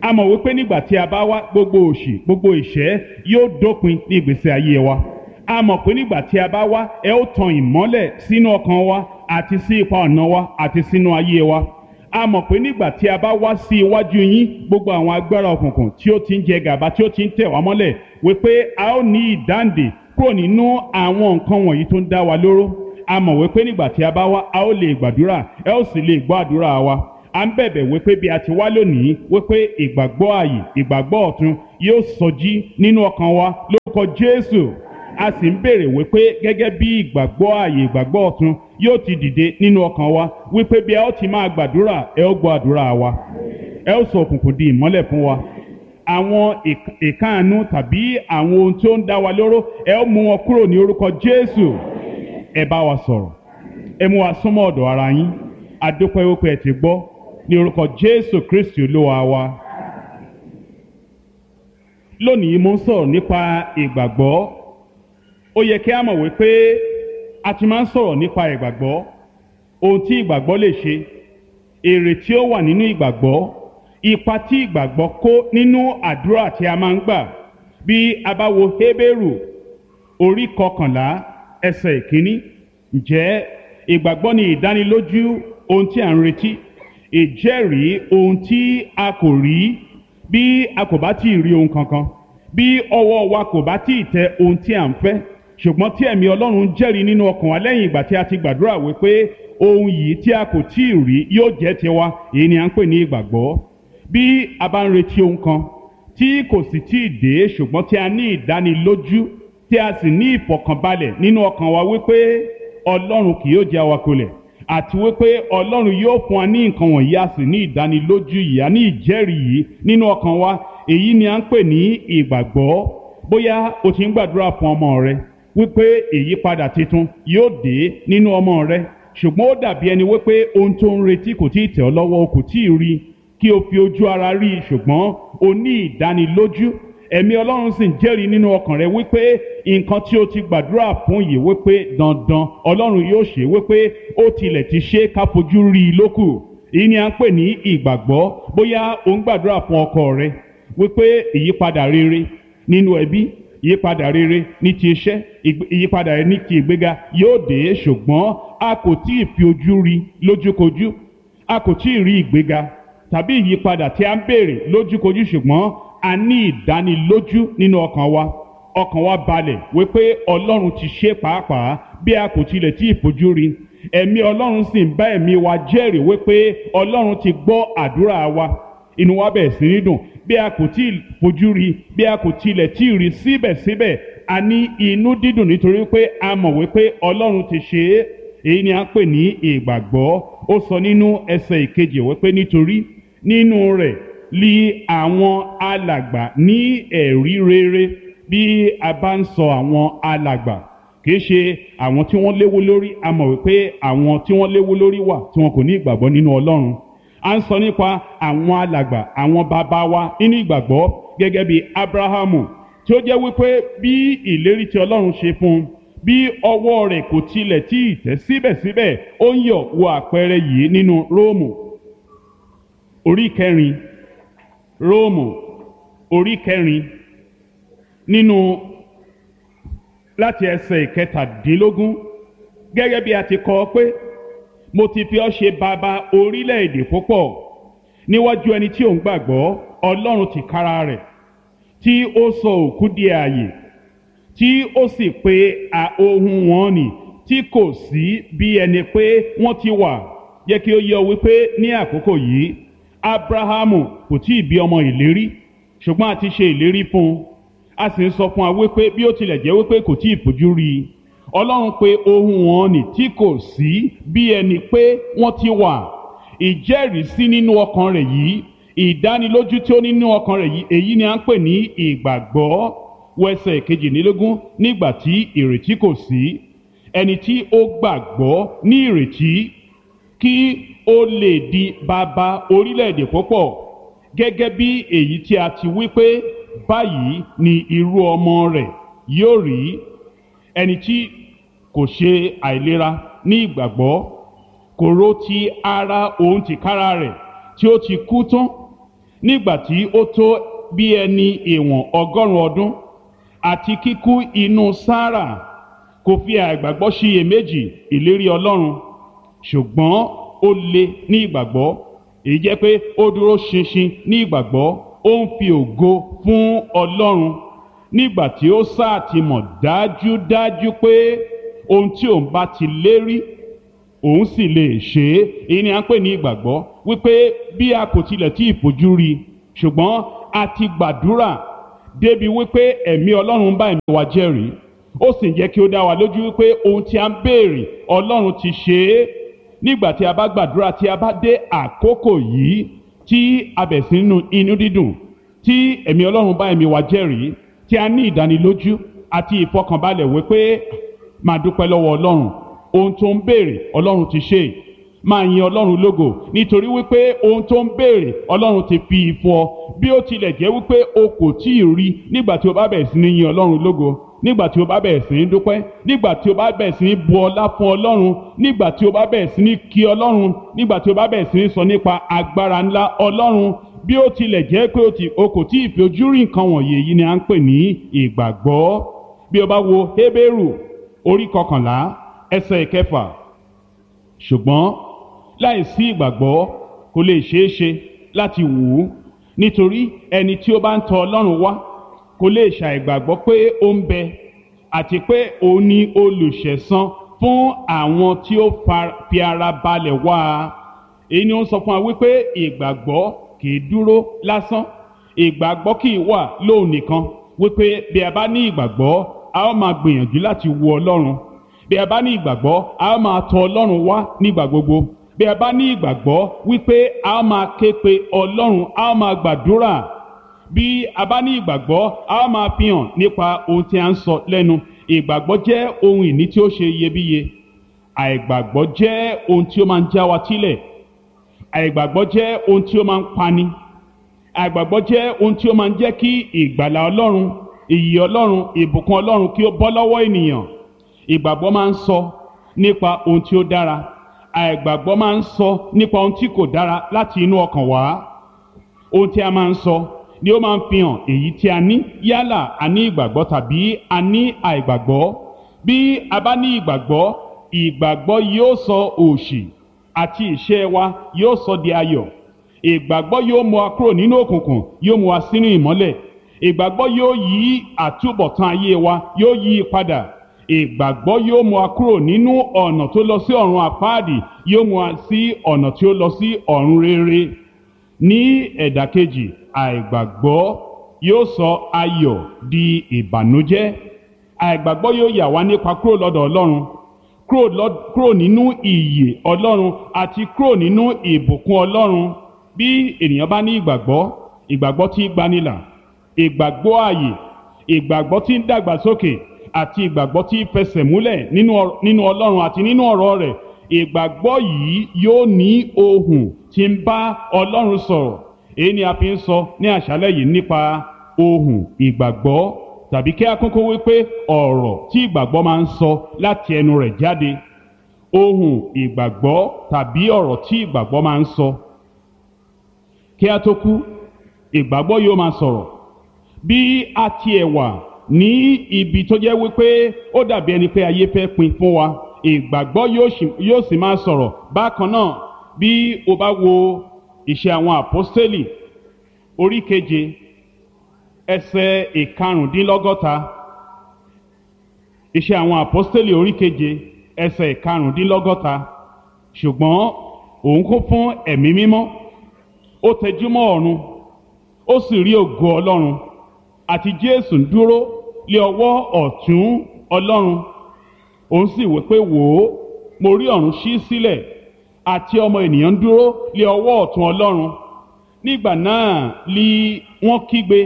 A mọ̀ wípé nígbà tí a bá wá, gbogbo òṣì, gbogbo ìṣẹ́ yóò dópin ní ìgbésí ayé wa. A mọ̀ pé nígbà tí a bá wá, ẹ ó tan ìmọ́lẹ̀ sínú ọkàn wa àti sí ipa ọ̀nà wa àti sínú ayé wa. A mọ̀ pé nígbà tí a bá wá sí iwájú yín, gbogbo àwọn agbára òkùnkùn tí ó ti ń jẹ gàba, tí ó ti ń tẹ̀ wá mọ́lẹ̀, wípé a ó ní ìdáǹdè kúrò nínú àwọn nǹkan wọ̀nyí tó ń dá wa lóró. A mọ̀ wípé nígbà tí a bá wá, a ó lè gbàdúrà, ẹ ó sì lè gbọ́ àdúrà wa. À ń bẹ̀bẹ̀ wípé bí a ti wá lónìí, wípé ìgbàgbọ́ ààyè, ìgbàgbọ́ ọ̀tun yóò sọjí nínú ọkàn wa lórúkọ Jésù. A sì ń béèrè wípé gẹ́gẹ́ bí ìgbàgbọ́ ààyè, ìgbàgbọ́ ọ̀tun yóò ti dìde nínú ọkàn wa, wípé bí a ó ti máa gbàdúrà, ẹ ó gbọ́ àdúrà wa, ẹ ó sọ òkùnkùn di ìmọ́lẹ̀ fún wa. Àwọn ìkáàánú tàbí àwọn ohun tí ó ń dá wa lóró, ẹ ó mú wọn kúrò ní orúkọ Jésù. Ẹ bá wa sọ̀rọ̀, ẹ mú wa súnmọ́ ọ̀dọ̀ ara yín. A dúpẹ́ wípé ẹ ti gbọ́, ní orúkọ Jésù Kristi Olúwa wa. Lónìí mo ń sọ̀rọ̀ nípa ìgbàgbọ́. Ó yẹ kí a mọ̀ wípé a ti máa ń sọ̀rọ̀ nípa ìgbàgbọ́, ohun tí ìgbàgbọ́ lè ṣe, èrè tí ó wà nínú ìgbàgbọ́, ipa tí ìgbàgbọ́ kó nínú àdúrà tí a máa ń gbà. Bí a bá wo Hébérù orí 11 ẹsẹ̀ 1, ǹjẹ́ ìgbàgbọ́ ni ìdánilójú ohun tí à ń retí, ìjẹ́rìí ohun tí a kò rí. Bí a kò bá tí ì rí ohun kankan, bí ọwọ́ wa kò bá tí ì tẹ ohun tí à ń fẹ́, ṣùgbọ́n tí ẹ̀mí Ọlọ́run jẹ́rìí nínú ọkàn wa lẹ́yìn ìgbà tí a ti gbàdúrà wípé ohun yìí tí a kò tí ì rí yóò jẹ́ tiwa, èyí ni à ń pè ní ìgbàgbọ́. Bí a bá ń retí ohun kan tí kò sì tí ì dé, ṣùgbọ́n tí a ní ìdánilójú, tí a sì ní ìfọ̀kànbalẹ̀ nínú ọkàn wa wípé Ọlọ́run kì yóò jẹ́ wa kulẹ̀, àti wípé Ọlọ́run yóò fún wa ní nǹkan wọ̀nyí, a sì ní ìdánilójú yìí, a ní ìjẹ́rìí yìí nínú ọkàn wa, èyí ni à ń pè ní ìgbàgbọ́. Bóyá o ti ń gbàdúrà fún ọmọ rẹ wípé ìyípadà tuntun yóò dé nínú ọmọ rẹ, ṣùgbọ́n ó dàbí ẹni wípé ohun tó ń retí kò tí ì tẹ̀ ọ́ lọ́wọ́, o kò tí ì rí kí o fi ojú ara rí i, ṣùgbọ́n o ní ìdánilójú, ẹ̀mí Ọlọ́run sì ń jẹ́rìí nínú ọkàn rẹ wípé nǹkan tí o ti gbàdúrà fún yìí, wípé dandan Ọlọ́run yóò ṣe, wípé ó tilẹ̀ ti ṣe ká fojú rí i lókù. Èyí ni à ń pè ní ìgbàgbọ́. Bóyá o ń gbàdúrà fún ọkọ rẹ wípé ìyípadà rere nínú ẹbí, ìyípadà rere ní ti iṣẹ́, ìyípadà rere ní ti ìgbéga yóò dé, ṣùgbọ́n a kò tí ì fi ojú rí lójúkojú, a kò tí ì rí ìgbéga tàbí ìyípadà tí a ń béèrè lójúkojú, ṣùgbọ́n a ní ìdánilójú nínú ọkàn wa, ọkàn wa balẹ̀ wípé Ọlọ́run ti ṣe pàápàá bí a kò tilẹ̀ tí ì fojú rí. Ẹ̀mí Ọlọ́run sì ń bá ẹ̀mí wa jẹ́rìí wípé Ọlọ́run ti gbọ́ àdúrà wa. Inú wa bẹ̀rẹ̀ sí ní dùn bí a kò tí ì fojú rí, bí a kò tilẹ̀ tí ì rí, síbẹ̀síbẹ̀ a ní inú dídùn nítorí pé a mọ̀ wípé Ọlọ́run ti ṣe é. Èyí ni a ń pè ní ìgbàgbọ́. Ó sọ nínú ẹsẹ̀ 2 wípé nítorí nínú rẹ̀ li àwọn alàgbà ní ẹ̀rí rere. Bí a bá ń sọ àwọn alàgbà, kì í ṣe àwọn tí wọ́n léwó lórí. A mọ̀ wípé àwọn tí wọ́n léwó lórí wà tí wọn kò ní ìgbàgbọ́ nínú Ọlọ́run. A ń sọ nípa àwọn alàgbà, àwọn bàbá wa nínú ìgbàgbọ́, gẹ́gẹ́ bí Abrahamu, tí ó jẹ́ wípé bí ìlérí tí Ọlọ́run ṣe fún un, bí ọwọ́ rẹ̀ kò tilẹ̀ tí ì tẹ́, síbẹ̀síbẹ̀ ó ń yọ̀. Wo àpẹẹrẹ yìí nínú Róòmù orí 4, Róòmù orí 4, nínú láti ẹsẹ̀ 17, gẹ́gẹ́ bí a ti kọ pé, mo ti fi ọ́ ṣe bàbá orílẹ̀-èdè púpọ̀ níwájú ẹni tí ò ń gbàgbọ́, Ọlọ́run tìkára rẹ̀ tí ó sọ òkú di ààyè, tí ó sì pe ohun wọn nì tí kò sí bí ẹni pé wọ́n ti wà. Jẹ́ kí ó yé ọ wípé ní àkókò yìí Abrahamu kò tí ì bí ọmọ ìlérí, ṣùgbọ́n a ti ṣe ìlérí fún un. A sì ń sọ fún wa wípé bí ó tilẹ̀ jẹ́ wípé kò tí ì fojú rí i, Ọlọ́run pé ohun wọn nì tí kò sí bí ẹni pé wọ́n ti wà. Ìjẹ́rìísí nínú ọkàn rẹ̀ yìí, ìdánilójú tí ó nínú ọkàn rẹ̀ yìí, èyí ni à ń pè ní ìgbàgbọ́. Wẹsẹ̀ 22, nígbà tí ìrètí kò sí, ẹni tí ó gbàgbọ́ ní ìrètí kí ó lè di bàbá orílẹ̀-èdè púpọ̀, gẹ́gẹ́ bí èyí tí a ti wí pé báyìí ni irú ọmọ rẹ̀ yóò rí. Ẹni tí kò ṣe àìlera ní ìgbàgbọ́ kò rò ti ara òun tìkára rẹ̀ tí ó ti kú tán nígbà tí ó tó bí ẹni ìwọ̀n 100 ọdún, àti kíkú inú Sárà, kò fi àìgbàgbọ́ ṣiyèméjì ìlérí Ọlọ́run, ṣùgbọ́n ó le ní ìgbàgbọ́. Èyí jẹ́ pé ó dúró ṣinṣin ní ìgbàgbọ́, ó ń fi ògo fún Ọlọ́run nígbà tí ó sáà ti mọ̀ dájúdájú pé ohun tí òun bá ti lérí, òun sì lè ṣe é. Èyí ni à ń pè ní ìgbàgbọ́, wípé bí a kò tilẹ̀ tí ì fojú rí, ṣùgbọ́n a ti gbàdúrà débi wípé ẹ̀mí Ọlọ́run bá ẹ̀mí wa jẹ́rìí, ó sì ń jẹ́ kí ó dá wa lójú wípé ohun tí a ń béèrè, Ọlọ́run ti ṣe é. Nígbà tí a bá gbàdúrà, tí a bá dé àkókò yìí, tí a bẹ̀ sí nínú inú dídùn, tí ẹ̀mí Ọlọ́run bá ẹ̀mí wa jẹ́rìí, tí a ní ìdánilójú àti ìfọkànbalẹ̀ wípé máa dúpẹ́ lọ́wọ́ Ọlọ́run, ohun tó ń béèrè, Ọlọ́run ti ṣe é. Máa yin Ọlọ́run lógo nítorí wípé ohun tó ń béèrè, Ọlọ́run ti fi fún ọ. Bí ó tilẹ̀ jẹ́ wípé o kò tí ì rí, nígbà tí o bá bẹ̀rẹ̀ sí ní yin Ọlọ́run lógo, nígbà tí o bá bẹ̀rẹ̀ sí ní dúpẹ́, nígbà tí o bá bẹ̀rẹ̀ sí ní bu ọlá fún Ọlọ́run, nígbà tí o bá bẹ̀rẹ̀ sí ní kí Ọlọ́run, nígbà tí o bá bẹ̀rẹ̀ sí ní sọ nípa agbára ńlá Ọlọ́run, bí ó tilẹ̀ jẹ́ pé o kò tí ì fi ojú rí nǹkan wọ̀nyí, èyí ni à ń pè ní ìgbàgbọ́. Bí o bá wo Hébérù orí 11 ẹsẹ̀ 6, ṣùgbọ́n láìsí ìgbàgbọ́ kò lè ṣeé ṣe láti wù ú, nítorí ẹni tí ó bá ń tọ Ọlọ́run wá kò lè ṣàìgbàgbọ́ pé ó ń bẹ, àti pé òun ni olùṣẹ̀san fún àwọn tí ó fi ara balẹ̀ wá a. Èyí ni ó ń sọ fún wa wípé ìgbàgbọ́ kì í dúró lásán, ìgbàgbọ́ kì í wà lóun nìkan, wípé bí a bá ní ìgbàgbọ́, a ó máa gbìyànjú láti wu Ọlọ́run. Bí a bá ní ìgbàgbọ́, a ó máa tọ Ọlọ́run wá nígbà gbogbo. Bí a bá ní ìgbàgbọ́ wípé a ó máa ké pe Ọlọ́run, a ó máa gbàdúrà. Bí a bá ní ìgbàgbọ́, a ó máa fi hàn nípa ohun tí a ń sọ lẹ́nu. Ìgbàgbọ́ jẹ́ ohun ìní tí ó ṣe iyebíye. Àìgbàgbọ́ jẹ́ ohun tí ó máa ń já wa sílẹ̀. Àìgbàgbọ́ jẹ́ ohun tí ó máa ń pani. Àìgbàgbọ́ jẹ́ ohun tí ó máa ń jẹ́ kí ìgbàlà Ọlọ́run, ìyè Ọlọ́run, ìbùkún Ọlọ́run kí ó bọ́ lọ́wọ́ ènìyàn. Ìgbàgbọ́ máa ń sọ nípa ohun tí ó dára. Àìgbàgbọ́ máa ń sọ nípa ohun tí kò dára láti inú ọkàn wá. Ohun tí a máa ń sọ ni ó máa ń fi hàn èyí tí a ní, yálà a ní ìgbàgbọ́ tàbí a ní àìgbàgbọ́. Bí a bá ní ìgbàgbọ́, ìgbàgbọ́ yóò sọ òṣì àti ìṣẹ́ wa yóò sọ di ayọ̀. Ìgbàgbọ́ yóò mú wa kúrò nínú òkùnkùn, yóò mú wa sínú ìmọ́lẹ̀. Ìgbàgbọ́ yóò yí àtúbọ̀tán ayé wa, yóò yí i padà. Ìgbàgbọ́ yóò mú wa kúrò nínú ọ̀nà tó lọ sí ọ̀run àpáàdì, yóò mú wa sí ọ̀nà tí ó lọ sí ọ̀run rere. Ní ẹ̀dà kejì, àìgbàgbọ́ yóò sọ ayọ̀ di ìbànújẹ́. Àìgbàgbọ́ yóò yà wá nípa kúrò lọ́dọ̀ Ọlọ́run, kúrò nínú ìyè Ọlọ́run àti kúrò nínú ìbùkún Ọlọ́run. Bí ènìyàn bá ní ìgbàgbọ́, ìgbàgbọ́ tí ń gbanilà, ìgbàgbọ́ ààyè, ìgbàgbọ́ tí ń dàgbàsókè àti ìgbàgbọ́ tí ń fẹsẹ̀ múlẹ̀ nínú Ọlọ́run àti nínú ọ̀rọ̀ rẹ̀, ìgbàgbọ́ yìí yóò ní ohùn tí ń bá Ọlọ́run sọ̀rọ̀. Èyí ni a fi ń sọ ní àṣálẹ́ yìí nípa ohùn ìgbàgbọ́, tàbí kí a kúkú wípé ọ̀rọ̀ tí ìgbàgbọ́ máa ń sọ láti ẹnu rẹ̀ jáde. Ohùn ìgbàgbọ́ tàbí ọ̀rọ̀ tí ìgbàgbọ́ máa ń sọ. Kí a tó kú, ìgbàgbọ́ yóò máa sọ̀rọ̀. Bí a tiẹ̀ wà ní ibi tó jẹ́ wípé ó dàbí ẹni pé ayé fẹ́ pin fún wa, ìgbàgbọ́ yóò sì máa sọ̀rọ̀. Bákan náà, bí o bá wo Ìṣe àwọn Àpọ́sítélì orí 7 ẹsẹ̀ 75. Ìṣe àwọn Àpọ́sítélì orí 7 ẹsẹ̀ 75. Ṣùgbọ́n òun kún fún ẹ̀mí mímọ́, ó tẹjúmọ́ ọ̀run, ó sì rí ògo Ọlọ́run àti Jésù ń dúró lé ọwọ́ ọ̀tún Ọlọ́run. Òun sì wí pé, wò ó, mo rí ọ̀run ṣí sílẹ̀ àti ọmọ ènìyàn ń dúró lé ọwọ́ ọ̀tún Ọlọ́run. Nígbà náà li wọ́n kígbe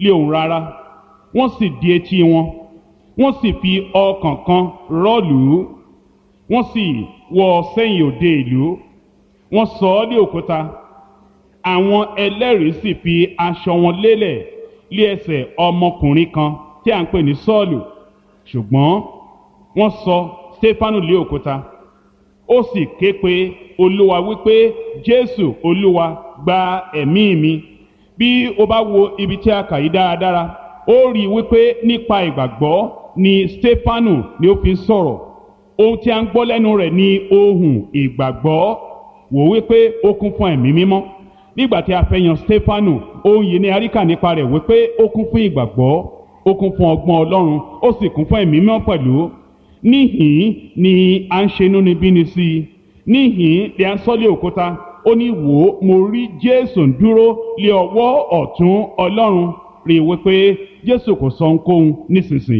lé ohùn rara, wọ́n sì di etí wọn, wọ́n sì fi ọkàn kan rọ́ọ̀lù, wọ́n sì wọ́ sẹ́yìn òde ìlú, wọ́n sọ ọ́ lé òkúta. Àwọn ẹlẹ́rìí sì fi aṣọ wọn lélẹ̀ lé ẹsẹ̀ ọmọkùnrin kan tí à ń pè ní Sọ́ọ̀lù. Ṣùgbọ́n wọ́n sọ Stefanu lé òkúta. Ó sì ké pe Olúwa wípé, Jésù Olúwa, gba ẹ̀mí mi. Bí o bá wo ibi tí a kà yí dáradára, ó rí i wípé nípa ìgbàgbọ́ ni Stefanu ni ó fi ń sọ̀rọ̀. Ohun tí a ń gbọ́ lẹ́nu rẹ̀ ni ohùn ìgbàgbọ́. Wò wípé ó kún fún ẹ̀mí mímọ́. Nígbà tí a fẹ́ yan Stefanu, ohun yìí ni a rí kà nípa rẹ̀ wípé ó kún fún ìgbàgbọ́, ó kún fún ọgbọ́n Ọlọ́run, ó sì kún fún ẹ̀mí mímọ́ pẹ̀lú. Níhìn ni à ń ṣe inúnibíni sí i, níhìn ni à ń sọ́lé òkúta. Ó ní, wò ó, mo rí Jésù ń dúró lé ọwọ́ ọ̀tún Ọlọ́run. Rí i wípé Jésù kò sọ ohunkóhun nísinsìnyí.